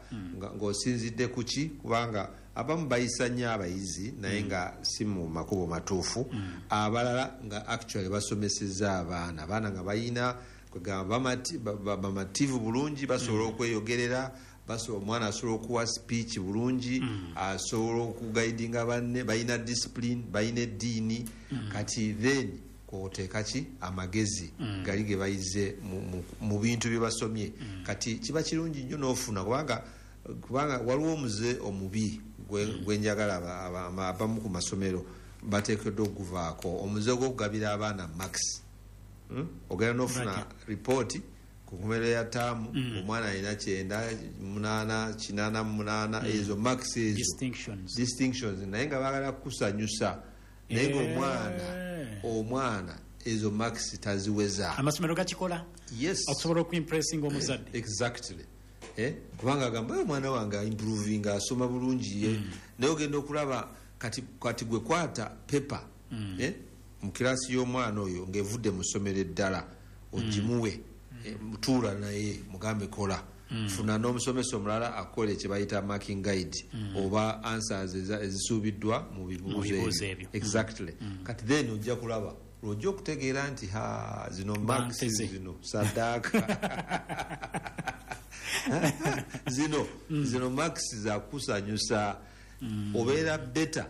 ng'osinzidde ku ki, kubanga abamu bayisa nnyo abayizi naye nga si mu makubo matuufu, abalala nga actually basomesezza abaana nga balina kwegamba bamativu bulungi, basobola okweyogerera, omwana asobola okuwa speech bulungi, asobola okuguidinga banne, balina discipline, balina eddiini. Kati then kwoteeka ki amagezi gali ge bayize mu bintu bye basomye. Kati kiba kirungi nnyo n'ofuna, kubanga waliwo omuze omubi gwenjagala abamu ku masomero bateekeddwa okuvaako, omuze gw'okugabira abaana max. Ogenda n'ofuna ripooti ku nkomerero ya taamu, omwana alina 9, 8, 88, ezo max ezo distinctions, naye nga baagala kukusanyusa, naye nga omwana ezo max taziweza. Amasomero gakikola, yes, okusobola okuimpressinga omuzadde. Exactly. Kubanga agamba omwana wange improving, asoma bulungi ye, naye ogenda okulaba kati gwe kwata paper mu kirasi y'omwana oyo ng'evudde mu ssomero eddala, ogimuwe, tuula naye mugambe kola, funa n'omusomesa omulala akole kye bayita marking guide oba answers ezisuubiddwa mu bibuuzo ebyo. Exactly. Kati then ojja kulaba lwojja okutegeera nti zino marks zino saddaaka zino marks zakusanyusa. Obeera beta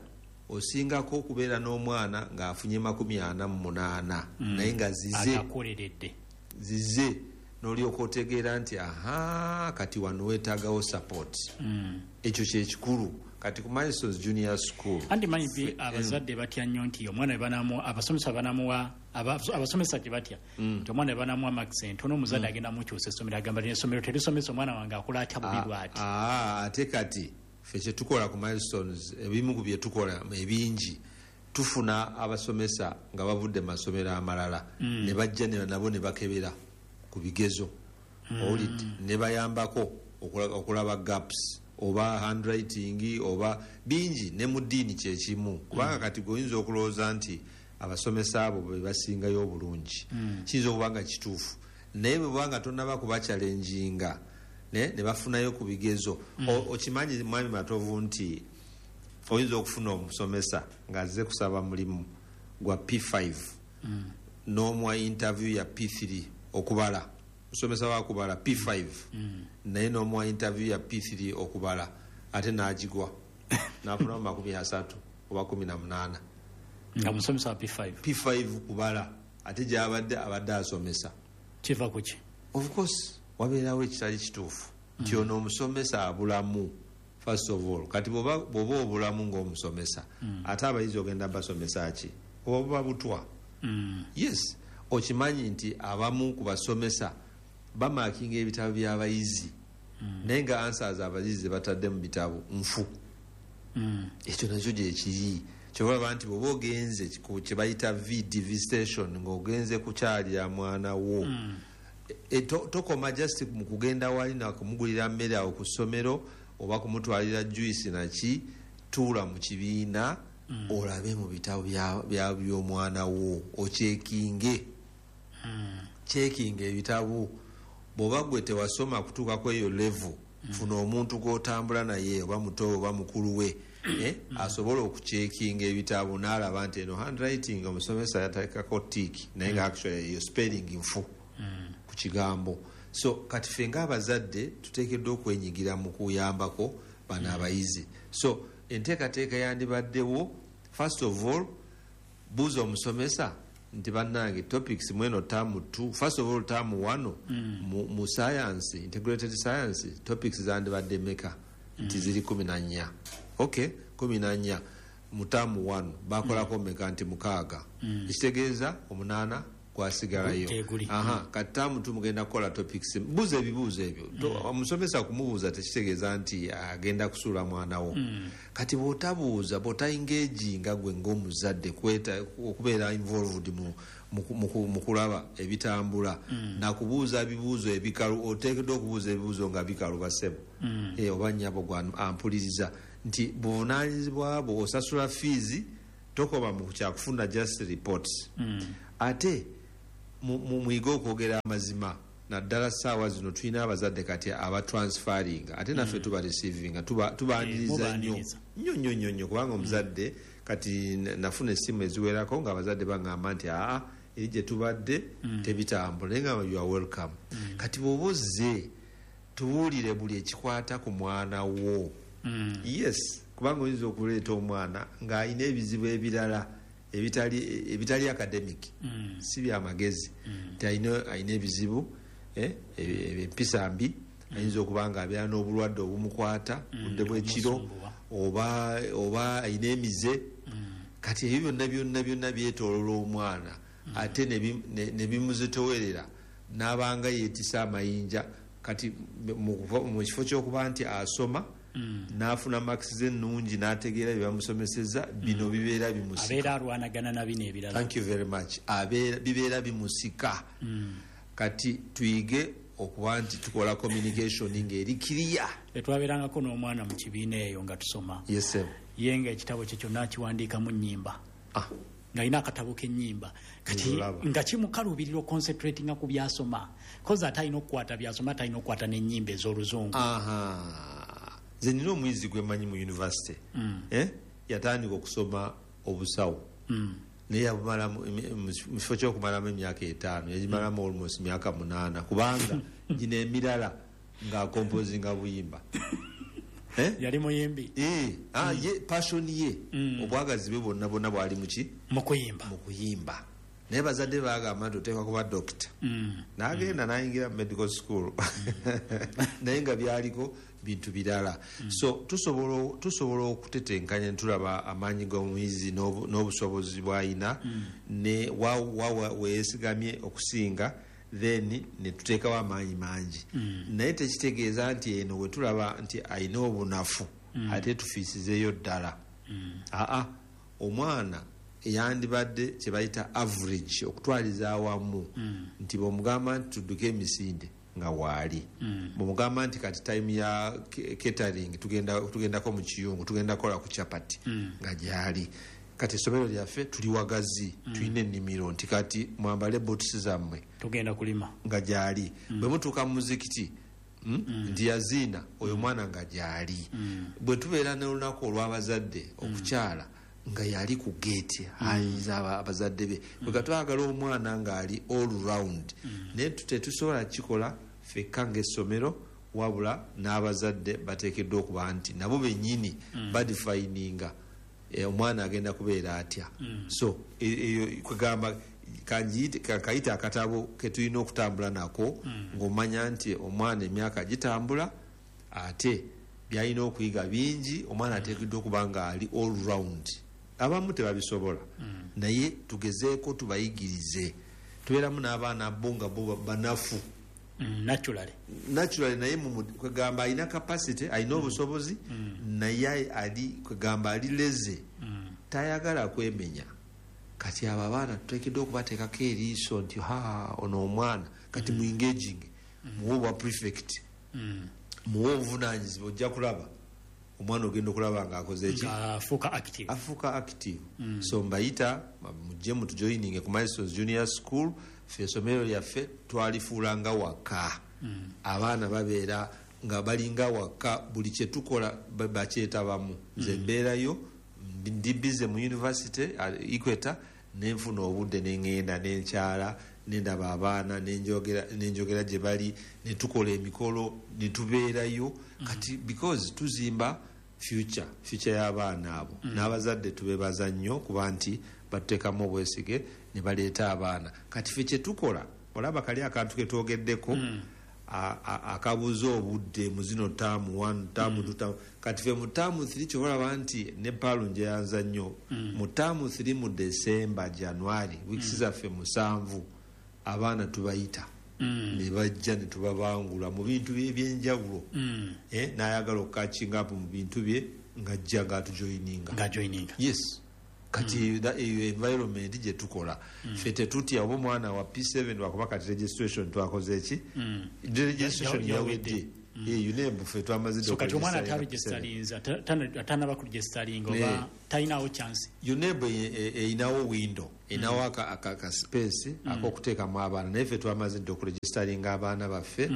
osingako okubeera n'omwana ng'afunye 48 naye nga zize n'olyoka otegeera nti aha, kati wano weetaagawo support. Ekyo kyekikulu. Kati ku Milestones Junior School andi manyi abazadde batya nnyo nti omwana banamu abasomesa banamuwa abasomesa gye batya nti omwana banamuwa max entono, omuzadde agenda mukyusa essomero, agamba essomero terisomesa omwana wange akola atya bubi bw'ati. Ate kati ffe kyetukola ku Milestones, ebimu ku byetukola ebingi, tufuna abasomesa nga bavudde mu masomero amalala ne bajja nabo ne bakebera ku bigezo, owulidde, ne bayambako okulaba gaps oba handwriting oba bingi, ne mu ddiini kyekimu. Kubanga kati gwe oyinza okulowooza nti abasomesa abo be basingayo obulungi, kiyinza okuba nga kituufu, naye bwe bubanga tonnaba kubachallenginga ne bafunayo ku bigezo. Okimanyi mwami Matovu nti oyinza okufuna omusomesa ng'azze kusaba mulimu gwa P5 n'omuwa interview ya P3 okubala, musomesa wakubala P5, naye n'omuwa interview ya P3 okubala, ate n'agigwa n'afunamu 30 oba 18, nga musomesa wa P5. P5 kubala, ate gyabadde abadde asomesa. Kiva kuki? Of course wabeerawo ekitali kituufu nti ono omusomesa abulamu. First of all, kati bw'oba obulamu ng'omusomesa, ate abayizi ogenda basomesa ki? Oba buba butwa. Yes, okimanyi nti abamu ku basomesa bamakinga ebitabo by'abayizi, naye nga answers abayizi batadde mu bitabo nfu. Ekyo nakyo gyekiri. Kyobalaba nti bw'oba ogenze kye bayita VD, visitation, ng'ogenze kukyalira mwana wo, tokoma just mu kugenda wali nakumugulira mmere awo ku ssomero oba kumutwalira juice naki, tuula mu kibiina olabe mu bitabo by'omwana wo, okyekinge ebitabo. Bw'oba gwe tewasoma kutuukako eyo level, funa omuntu gw'otambula naye, oba muto oba mukulu we, asobola okucekinga ebitabo n'alaba nti eno handwriting omusomesa yateekako tick, naye nga actually eyo spelling nfu ku kigambo. So kati ffe ng'abazadde tuteekeddwa okwenyigira mu kuyambako bano abayizi. So enteekateeka yandibaddewo, first of all buuza omusomesa nti bannange topics mweno term 2, first of all term 1 mu science, integrated science topics zandibadde meka? Nti ziri 14. Okay, 14 mu term 1 bakolako meka? Nti 6. Ekitegeeza 8 Gwasigalayo. Teguli. Aha, kati term 2 mugenda kukola topics, buuza ebibuuzo ebyo. Omusomesa kumubuuza tekitegeeza nti agenda kusuula mwana wo. Kati bw'otabuuza, bw'otaengaginga gwe ng'omuzadde okubeera involved mu kulaba ebitambula, nakubuuza bibuuzo ebikalu, oteekeddwa okubuuza ebibuuzo nga bikalu, basebo. Oba nnyabo gwe ampuliriza nti buvunaanyizibwa bwo, osasula fees, tokoma mu kyakufuna just reports. Ate muyige okwogera amazima, naddala ssaawa zino tulina abazadde kati abatransferringa, ate naffe tuba receivinga, tubaaniriza nnyo Mubaaniriza. nnyo nnyo nnyo nnyo, kubanga omuzadde kati nafuna essimu eziwerako ng'abazadde baŋŋamba nti aa, eri gye tubadde tebitambula, naye nga you are welcome. Kati bw'oba ozze, tubuulire buli ekikwata ku mwana wo. Yes, kubanga oyinza okuleeta omwana ng'alina ebizibu ebirala ebitali academic, si byamagezi, nti alina ebizibu, empisa mbi, ayinza okuba nga abeera n'obulwadde obumukwata budde bw'ekiro, Omusumbuwa. oba alina emize. Kati ebyo byonna byonna byonna byetoolola omwana, ate ne bimuzitowerera n'abanga yeetisa amayinja. Kati mu kifo ky'okuba nti asoma n'afuna marks ze ennungi n'ategeera bye bamusomeseza, bino bibeera bimusika. Abeera alwanagana na bino ebirala. Thank you very much. Bibeera bimusika. Kati tuyige okuba nti tukola communication ng'eri clear. Twabeerangako n'omwana mu kibiina eyo nga tusoma. Yes, sir. Ye nga ekitabo kye kyonna akiwandiikamu nnyimba, ng'alina akatabo k'ennyimba. Kati Olaba. nga kimukaluubirira oconcentratinga ku byasoma, kozi ate alina okukwata byasoma, ate alina okukwata n'ennyimba ez'oluzungu. Aha, nze nina omuyizi gwe mmanyi mu university. Eh? Yatandika okusoma obusawo, naye yabumalamu mu kifo ky'okumalamu emyaka 5, yagimalamu almost myaka 8, kubanga gino emirala ng'akompozinga buyimba. Eh? Yali muyimbi? Eh, ah, ye passion ye, obwagazi bwe bwonna bwonna bwali muki? Mu kuyimba. Mu kuyimba. Naye bazadde bagamba nti oteekwa kuba dokita, n'agenda n'ayingira mu medical school, naye nga byaliko bintu birala. So tusobola okutetenkanya ne tulaba amaanyi g'omuyizi n'obusobozi bw'alina ne wa weesigamye okusinga, then ne tuteekawo amaanyi mangi. Naye tekitegeeza nti eno we tulaba nti alina obunafu ate tufiisizeeyo ddala. Aa, omwana yandibadde kye bayita average okutwaliza awamu, nti bw'omugamba nti tudduke emisinde, nga waali. Bw'omugamba nti kati time ya catering, tugendako mu kiyungu, tugenda kukola ku chapati, nga gyali. Kati essomero lyaffe tuli wagazi, tulina ennimiro, nti kati mwambale boots zammwe, tugenda kulima, nga gyali. Bwe mutuuka mu muzikiti, nti yaziina oyo mwana, nga gyali. Bwe tubeera n'olunaku olw'abazadde okukyala, nga yali ku geeti ayinza abazadde be. Bwe twagala omwana ng'ali all round, naye tetusobola kikola ffekka ng'essomero, wabula n'abazadde bateekeddwa okuba nti nabo bennyini badefininga omwana agenda kubeera atya. So eyo kwegamba kayita akatabo ketulina okutambula nako, ng'omanya nti omwana emyaka gitambula, ate byalina okuyiga bingi. Omwana ateekeddwa okuba nga ali all round. Abamu tebabisobola, naye tugezeeko tubayigirize. Tubeeramu n'abaana bo nga bo banafu Naturally. Naturally, naye kwegamba alina capacity, alina obusobozi, naye ali kwegamba ali lazy, tayagala kwemenya. Kati abo abaana tuteekeddwa okubateekako eriiso nti ha, ono omwana kati mu engaging, muwe obwa prefect, muwe obuvunanyizibwa, ojja kulaba omwana ogenda okulaba nga akoze eki? Afuuka active. Afuuka active. So mbayita mujje mutujoininge ku Milestones Junior School. Ffe essomero lyaffe twalifuula nga waka. Abaana babeera nga balinga waka, buli kyetukola bakyetabamu. Nze mbeerayo, ndi busy mu university Equator, nenfuna obudde neŋŋenda nenkyala, nendaba abaana, nenjogera gye bali, netukola emikolo, netubeerayo. Kati because tuzimba future y'abaana abo. N'abazadde tubebaza nnyo kuba nti batuteekamu obwesige ne baleeta abaana. Kati ffe kyetukola, olaba kali akantu ketwogeddeko, akabuza obudde mu zino term 1, term 2, term. Kati ffe mu term 3, kyobalaba nti ne paalu njeyanza nnyo, mu term 3 mu December, January, weeks zaffe 7. Abaana tubayita ne bajja ne tubabangula mu bintu ebyenjawulo. N'ayagala okukakinga up mu bintu bye ng'ajja ng'atujoyininga. Ng'ajoyininga. Yes. Kati eyo environment gye tukola. Ffe tetutya oba omwana wa P7, wakuba kati registration twakoze ki? Registration yawedde. UNEB ffe twamaze. So kati omwana ataregisterinze, atanaba kuregisteringa oba talinawo chance? UNEB erinawo window, erinawo aka space ak'okuteekamu abaana, naye ffe twamaze dde okuregisteringa abaana baffe.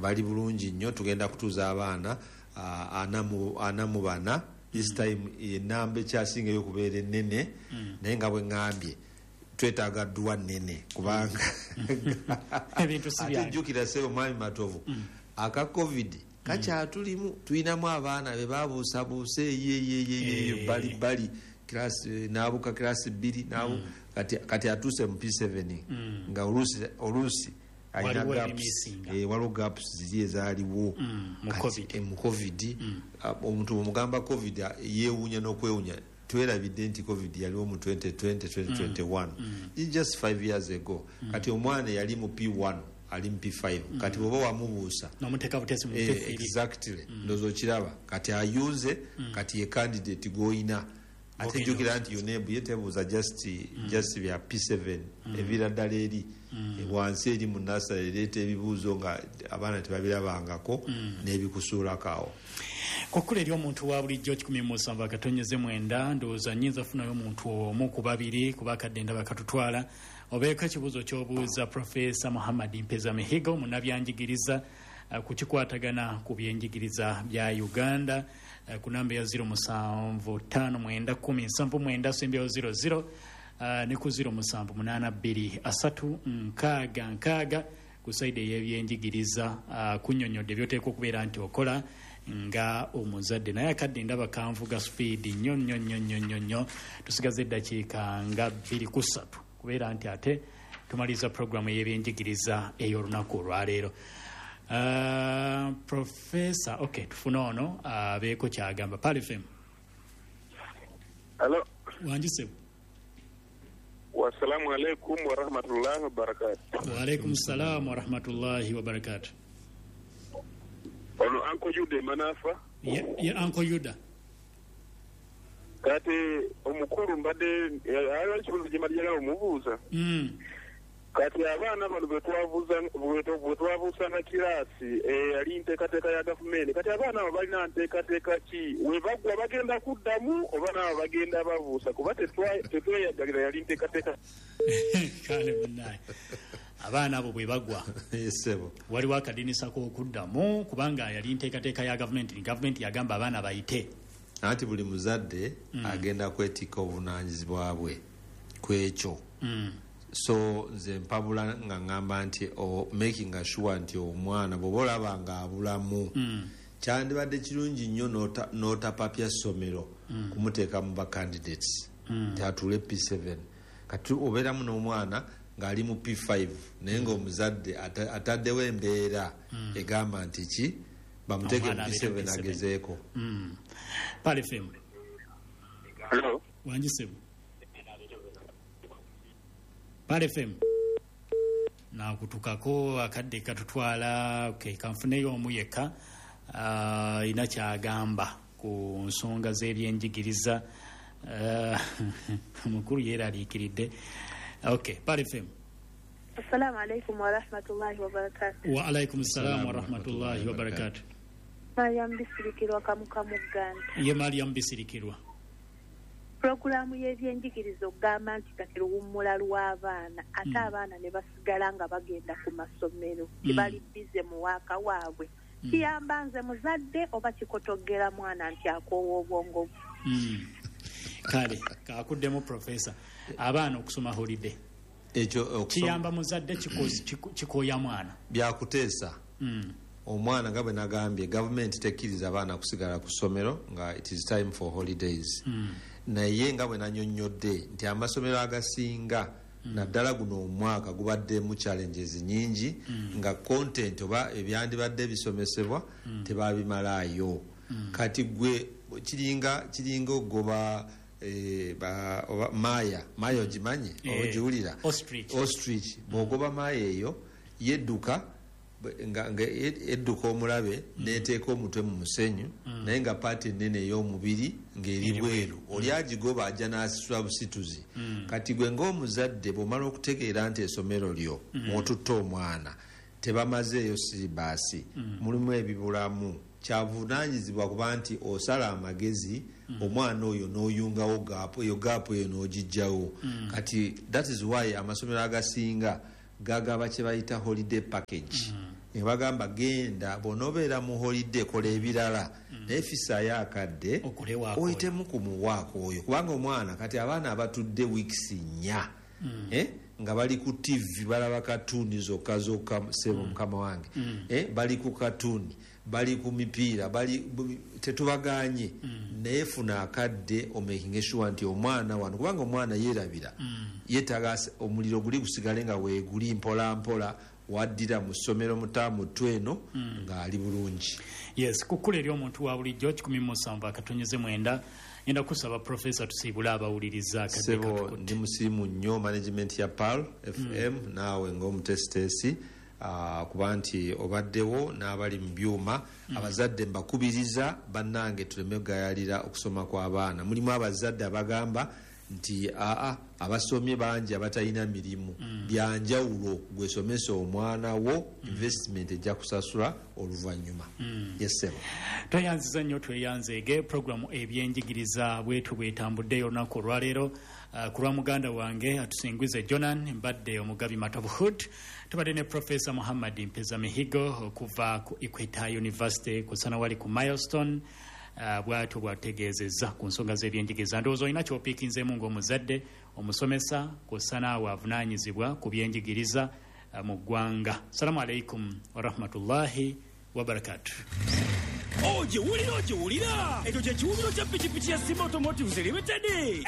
Bali bulungi nnyo. Tugenda kutuuza abaana 44 this time, enamba ekyasingayo okubeera ennene. Naye nga bwe ŋŋambye, twetaaga dduwa nnene kubanga ebintu si ate byangu. Jjukira ssebo mwami Matovu, aka COVID kakyatulimu. Tulinamu abaana be babuusabuusa eyeyeyeyeyo bali bali class, n'abuka class 2 kati atuuse mu P7 nga oluusi alina waliwo gaps. ebimisinga. Waliwo gaps ziri ezaaliwo mu Kati, COVID. mu COVID. Omuntu bwomugamba COVID, yeewuunya n'okwewuunya. Twerabidde nti COVID yaliwo mu 2020, 2021. It's just 5 years ago. Kati omwana yali mu P1 ali mu P5. Kati bw'oba wamubuusa n'omuteeka butesi mu P3. Exactly. Ndowooza okiraba kati ayunze, kati ye candidate gw'oyina. Ate Gw'ogenda jjukira nti UNEB ye tebuuza just bya P7, eviira ddala eri wansi eri mu nursery, ereeta ebibuuzo nga abaana tebabirabangako n'ebikusuulako awo. Kukkula eri omuntu wa bulijjo, 107.9. Ndowooza nyinza funayo omuntu omu ku babiri, kuba akadde ndaba katutwala. Obeeko ekibuuzo ky'obuuza Profesa Muhammad Mpeza Mihigo, munnabyanjigiriza, ku kikwatagana ku byenjigiriza bya Uganda, ku namba ya 07591079 sembyawo 00, ne ku 07823060 ku side ey'ebyenjigiriza, kunnyonnyodde byoteekwa okubeera nti okola nga omuzadde. Naye akadde ndaba kanvuga speed nnyo nnyo nnyo nnyo nnyo nnyo. Tusigaze eddakiika nga 2 ku 3 kubeera nti ate tumaliriza puroguramu ey'ebyenjigiriza ey'olunaku olwaleero. Profesa, ok, tufune ono abeeko kyagamba. Pearl FM. Halo. Wangisebwa. Wassalamu alaikum warahmatullahi wabarakatuh. Waalaikum salam warahmatullahi wabarakatu. Ono Uncle Yuda Manafa. Ye Uncle Yuda. Kati omukulu mbadde aliwo ekibuuzo gye mbadde njagala omubuuza. Kati abaana bano bwe twabuusanga kiraasi, yali nteekateeka ya gavumenti. Kati abaana abo balina nteekateeka ki? We baggwa bagenda kuddamu oba naabo bagenda babuusa? Kuba tetweyagalira, yali nteekateeka. Kale munnaye, abaana abo bwe bagwa, Ssebo. waliwo akadinisa k'okuddamu? Kubanga yali nteekateeka ya gavumenti, gavumenti yagamba abaana bayite. Anti buli muzadde agenda kwetikka obuvunaanyizibwa bwe ku ekyo. So nze mpabula nga ŋŋamba nti making sure nti omwana bw'oba olaba nga abulamu, kyandibadde kirungi nnyo n'otapapya ssomero kumuteeka mu ba candidates nti atuule P7. Kati obeeramu n'omwana ng'ali mu P5, naye ng'omuzadde ataddewo embeera egamba nti ki bamuteeke mu Omwana abeere P7 P7. agezeeko. Pearl FM. Hello. Wangisebwa. Pearl FM. Nakutukako, akadde katutwala. Okay, kanfuneyo omu yekka ina kyagamba ku nsonga z'ebyenjigiriza. Omukulu yeeraliikiridde. Okay, Pearl FM. Assalamu alaikum warahmatullahi wabarakatuh. Wa alaikum salam warahmatullahi wabarakatu. Mariam Bisirikirwa Kamuka Muganda. Ye Mariam Bisirikirwa. Pulogulaamu y'ebyenjigiriza okugamba nti kati luwummula lw'abaana, ate abaana ne basigala nga bagenda ku masomero, tebali busy mu waaka waabwe, kiyamba nze muzadde oba kikotogera mwana nti akoowa obwongo bwe? Kale kakuddemu profesa, abaana okusoma holiday Ekyo kiyamba muzadde, kikooya mwana? Byakuteesa. Omwana, nga bwe nagambye, gavumenti tekkiriza abaana kusigala ku ssomero nga it is time for holidays. Naye nga bwe nanyonnyodde nti amasomero agasinga, naddala guno omwaka, gubaddemu challenges nyingi nga content oba ebyandibadde bisomesebwa tebabimalaayo. Kati gwe kiringa ogoba Oba maya ogimanyi, ogiwulira? Ostrich. Bw'ogoba maya eyo yedduka nga edduka omulabe, neteeka omutwe mu musenyu, naye nga paati ennene ey'omubiri ng'eri bweru. Oli agigoba ajja n'asitula busituzi. Kati gwe ng'omuzadde bw'omala okutegeera nti essomero lyo mw'otutte omwana tebamazeeyo siribaasi, mulimu ebibulamu, kyavunaanyizibwa kuba nti osala amagezi omwana oyo n'oyungawo gaapu eyo, gaapu eyo n'ogijjawo. Kati that is why amasomero agasinga gagaba kye bayita holiday package. Ne bagamba genda bw'onoobeera mu holiday kola ebirala, naye fisaayo akadde oyitemu ku muwaako oyo, kubanga omwana kati abaana abatudde weeks 4 nga bali ku TV balaba katuni zokka zokka, sebo mukama wange, bali ku katuni, bali ku mipiira, bali tetubaganye, naye funa akadde omakinge sure nti omwana wano, kubanga omwana yeerabira, yeetaaga omuliro guli gusigale nga weeguli mpola mpola, waddira mu ssomero mutaamu tweno ng'ali bulungi. Yes, kukula eri omuntu wa bulijjo 107.9. Ngenda kusaba Profesa tusiibule abawuliriza akadde. Sebo, ndi musiimu nnyo management ya Pearl FM, naawe ng'omutesiteesi, kuba nti obaddewo n'abali mu byuma. Abazadde mbakubiriza bannange tuleme kugayalira okusoma kw'abaana. Mulimu abazadde abagamba nti aa abasomye bangi abatalina mirimu. Byanjawulo, gwesomesa omwana wo, investment ejja kusasula oluvannyuma. Yes sebo. Tweyanziza nnyo, tweyanzeege. Programu ebyenjigiriza bwetu bwetambuddeyo olunaku olwaleero. Ku lwa muganda wange atusingwize Jonan, mbadde omugabi Matovu Hood. Tubadde ne Profesa Muhammad Mpeza Mihigo okuva ku Equator University ku Sanawali ku Milestone. Bwatyo bwategeezezza ku nsonga z'ebyenjigiriza. Ndowooza olina ky'opiikinzeemu ng'omuzadde, omusomesa, kw'ossa naawe avunaanyizibwa ku byenjigiriza mu ggwanga. Salamu alaikum warahmatullahi wabarakatuh. Ogiwulira, ogiwulira, ekyo kye kiwubiro kya pikipiki ya Simba Automotives Limited,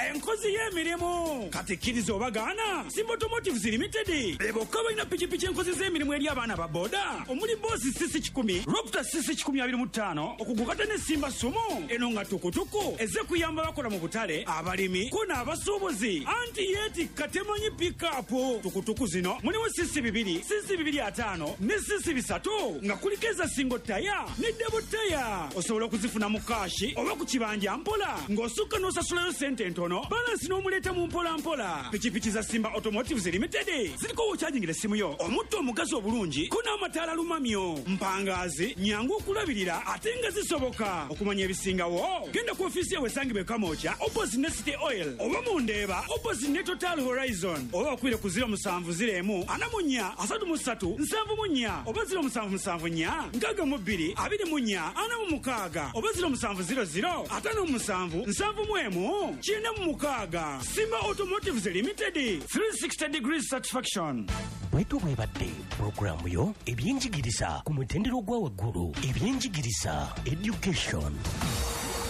enkozi y'emirimu. Kati kkiriza obagaana, Simba Automotives Limited be bokka balina pikipiki enkozi z'emirimu eri abaana ba boda, omuli Boss CC 100, Raptor CC 125, okugukata ne Simba Sumo eno nga tukutuku ezze kuyamba bakola mu butale, abalimi ko n'abasuubuzi, anti yeetikka temanyi pikapu. Tukutuku zino mulimu CC 2, CC 250 ne CC 300, nga kuliko eza single taya ne double taya. Osobola okuzifuna mu kaashi oba ku kibanja mpola, ng'osukka n'osasulayo sente entono, balansi n'omuleeta mu mpola mpola. Pikipiki za Simba Automotives Limited ziriko w'okyajingira essimu yo, omutto omugazi obulungi ko n'amataala lumamyo, mpangaazi, nyangu okulabirira ate nga zisoboka. Okumanya ebisingawo genda ku ofiisi yawe esangibwa e Kamwokya opposite ne City Oil, oba mu Ndeeba opposite ne Total Horizon, oba bakubire ku 0701 44 33 74 oba 0774 62 24 46 oba 0700 57 71 96. Simba Automotives Limited, 360 degrees satisfaction. Bwetyo bwebadde pulogulaamu yo ebyenjigiriza ku mutendera ogwa waggulu, ebyenjigiriza education.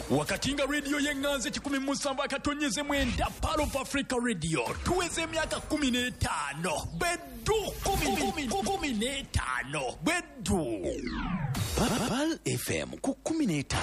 Wakati nga rediyo y'eŋŋanzi 107.9 Pearl of Africa Radio tuweza emyaka 15 beddu 15 beddu. Pearl FM ku 15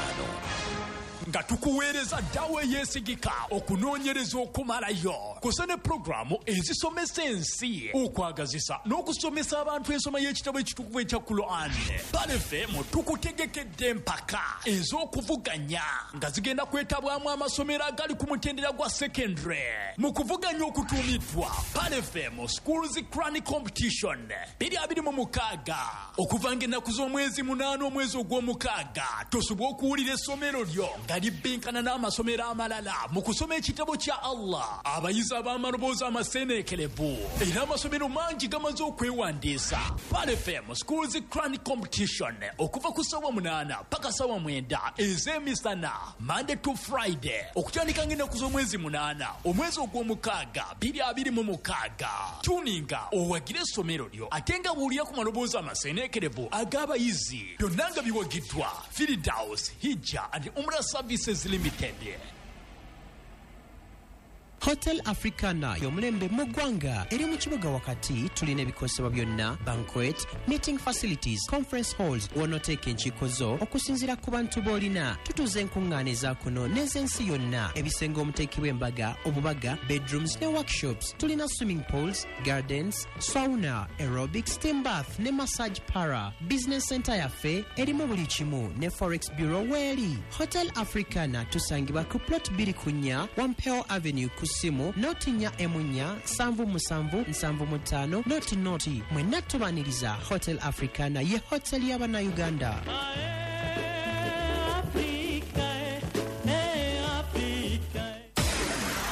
nga tukuweereza ddawa eyeesigika, okunoonyereza okumalayo, kusa ne pulogulaamu ezisomesa ensi, okwagazisa n'okusomesa abantu ensoma y'ekitabo ekitukuvu ekya Quran. Pearl FM tukutegekedde empaka ez'okuvuganya nga zigenda kwetabwamu amasomero agali ku mutendera gwa secondary mu kuvuganya okutuumiddwa Pearl FM Schools Quran Competition 2026, okuva ng'ennaku z'omwezi 8 omwezi ogw'omukaaga. Tosobola okuwulira essomero lyo nga libbinkana n'amasomero amalala mu kusoma ekitabo kya Allah. Abayizi ab'amaloboozi amaseeneekerevu, era amasomero mangi gamaze okwewandiisa. Pearl FM Schools Quran Competition okuva ku ssaawa 8 paka ssaawa 9 ez'emisana, Monday to Friday, okutandika ng'ennaku z'omwezi 8 omwezi ogw'omukaaga 2026. Tuninga owagire essomero lyo ate nga buulira ku maloboozi amaseeneekerevu ag'abayizi. Byonna nga biwagiddwa Firdaus Hijja and Umrah Services Limited. Hotel Africana y'omulembe mu ggwanga eri mu kibuga wakati. Tulina ebikozesebwa byonna, banquet, meeting facilities, conference halls, w'onooteeka enkiiko zo okusinziira ku bantu b'olina. Tutuuza enkuŋŋaana eza kuno n'ez'ensi yonna, ebisenge omuteekebwa embaga, obubaga, bedrooms ne workshops. Tulina swimming pools, gardens, sauna, aerobic, steam bath ne massage parlour. Business center yaffe erimu buli kimu ne forex bureau weeri. Hotel Africana tusangibwa ku plot 24 Wampeo Avenue, ku ssimu 04 4 77 75 00. Mwenna tubaniriza. Hotel Africana ye hotel y'Abannayuganda.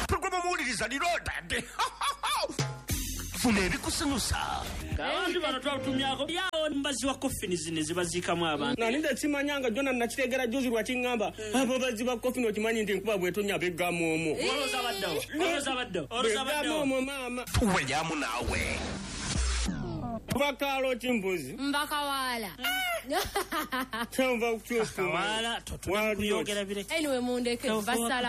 Programu muwuliriza lirodadde. Funa ebikusanyusa. Abantu bano twatumyako yawo mbazi wa kofini zino ezibaziikamu abantu. Nani ndakimanyanga jona nakitegera juzi lwakiŋŋamba abo bazzi ba kofini, okimanyi nti nkuba bwetonya beggamu omwo. Olowooza baddawo, olowooza baddawo, olowooza Beggamu baddawo. omwo maama. Tuwelyamu naawe. Bakaalo kimbuzi. Mbakawaala. Kyanva kukyusa. Kawaala, Wali kuyogera bireke. Anyway, mundeke basala.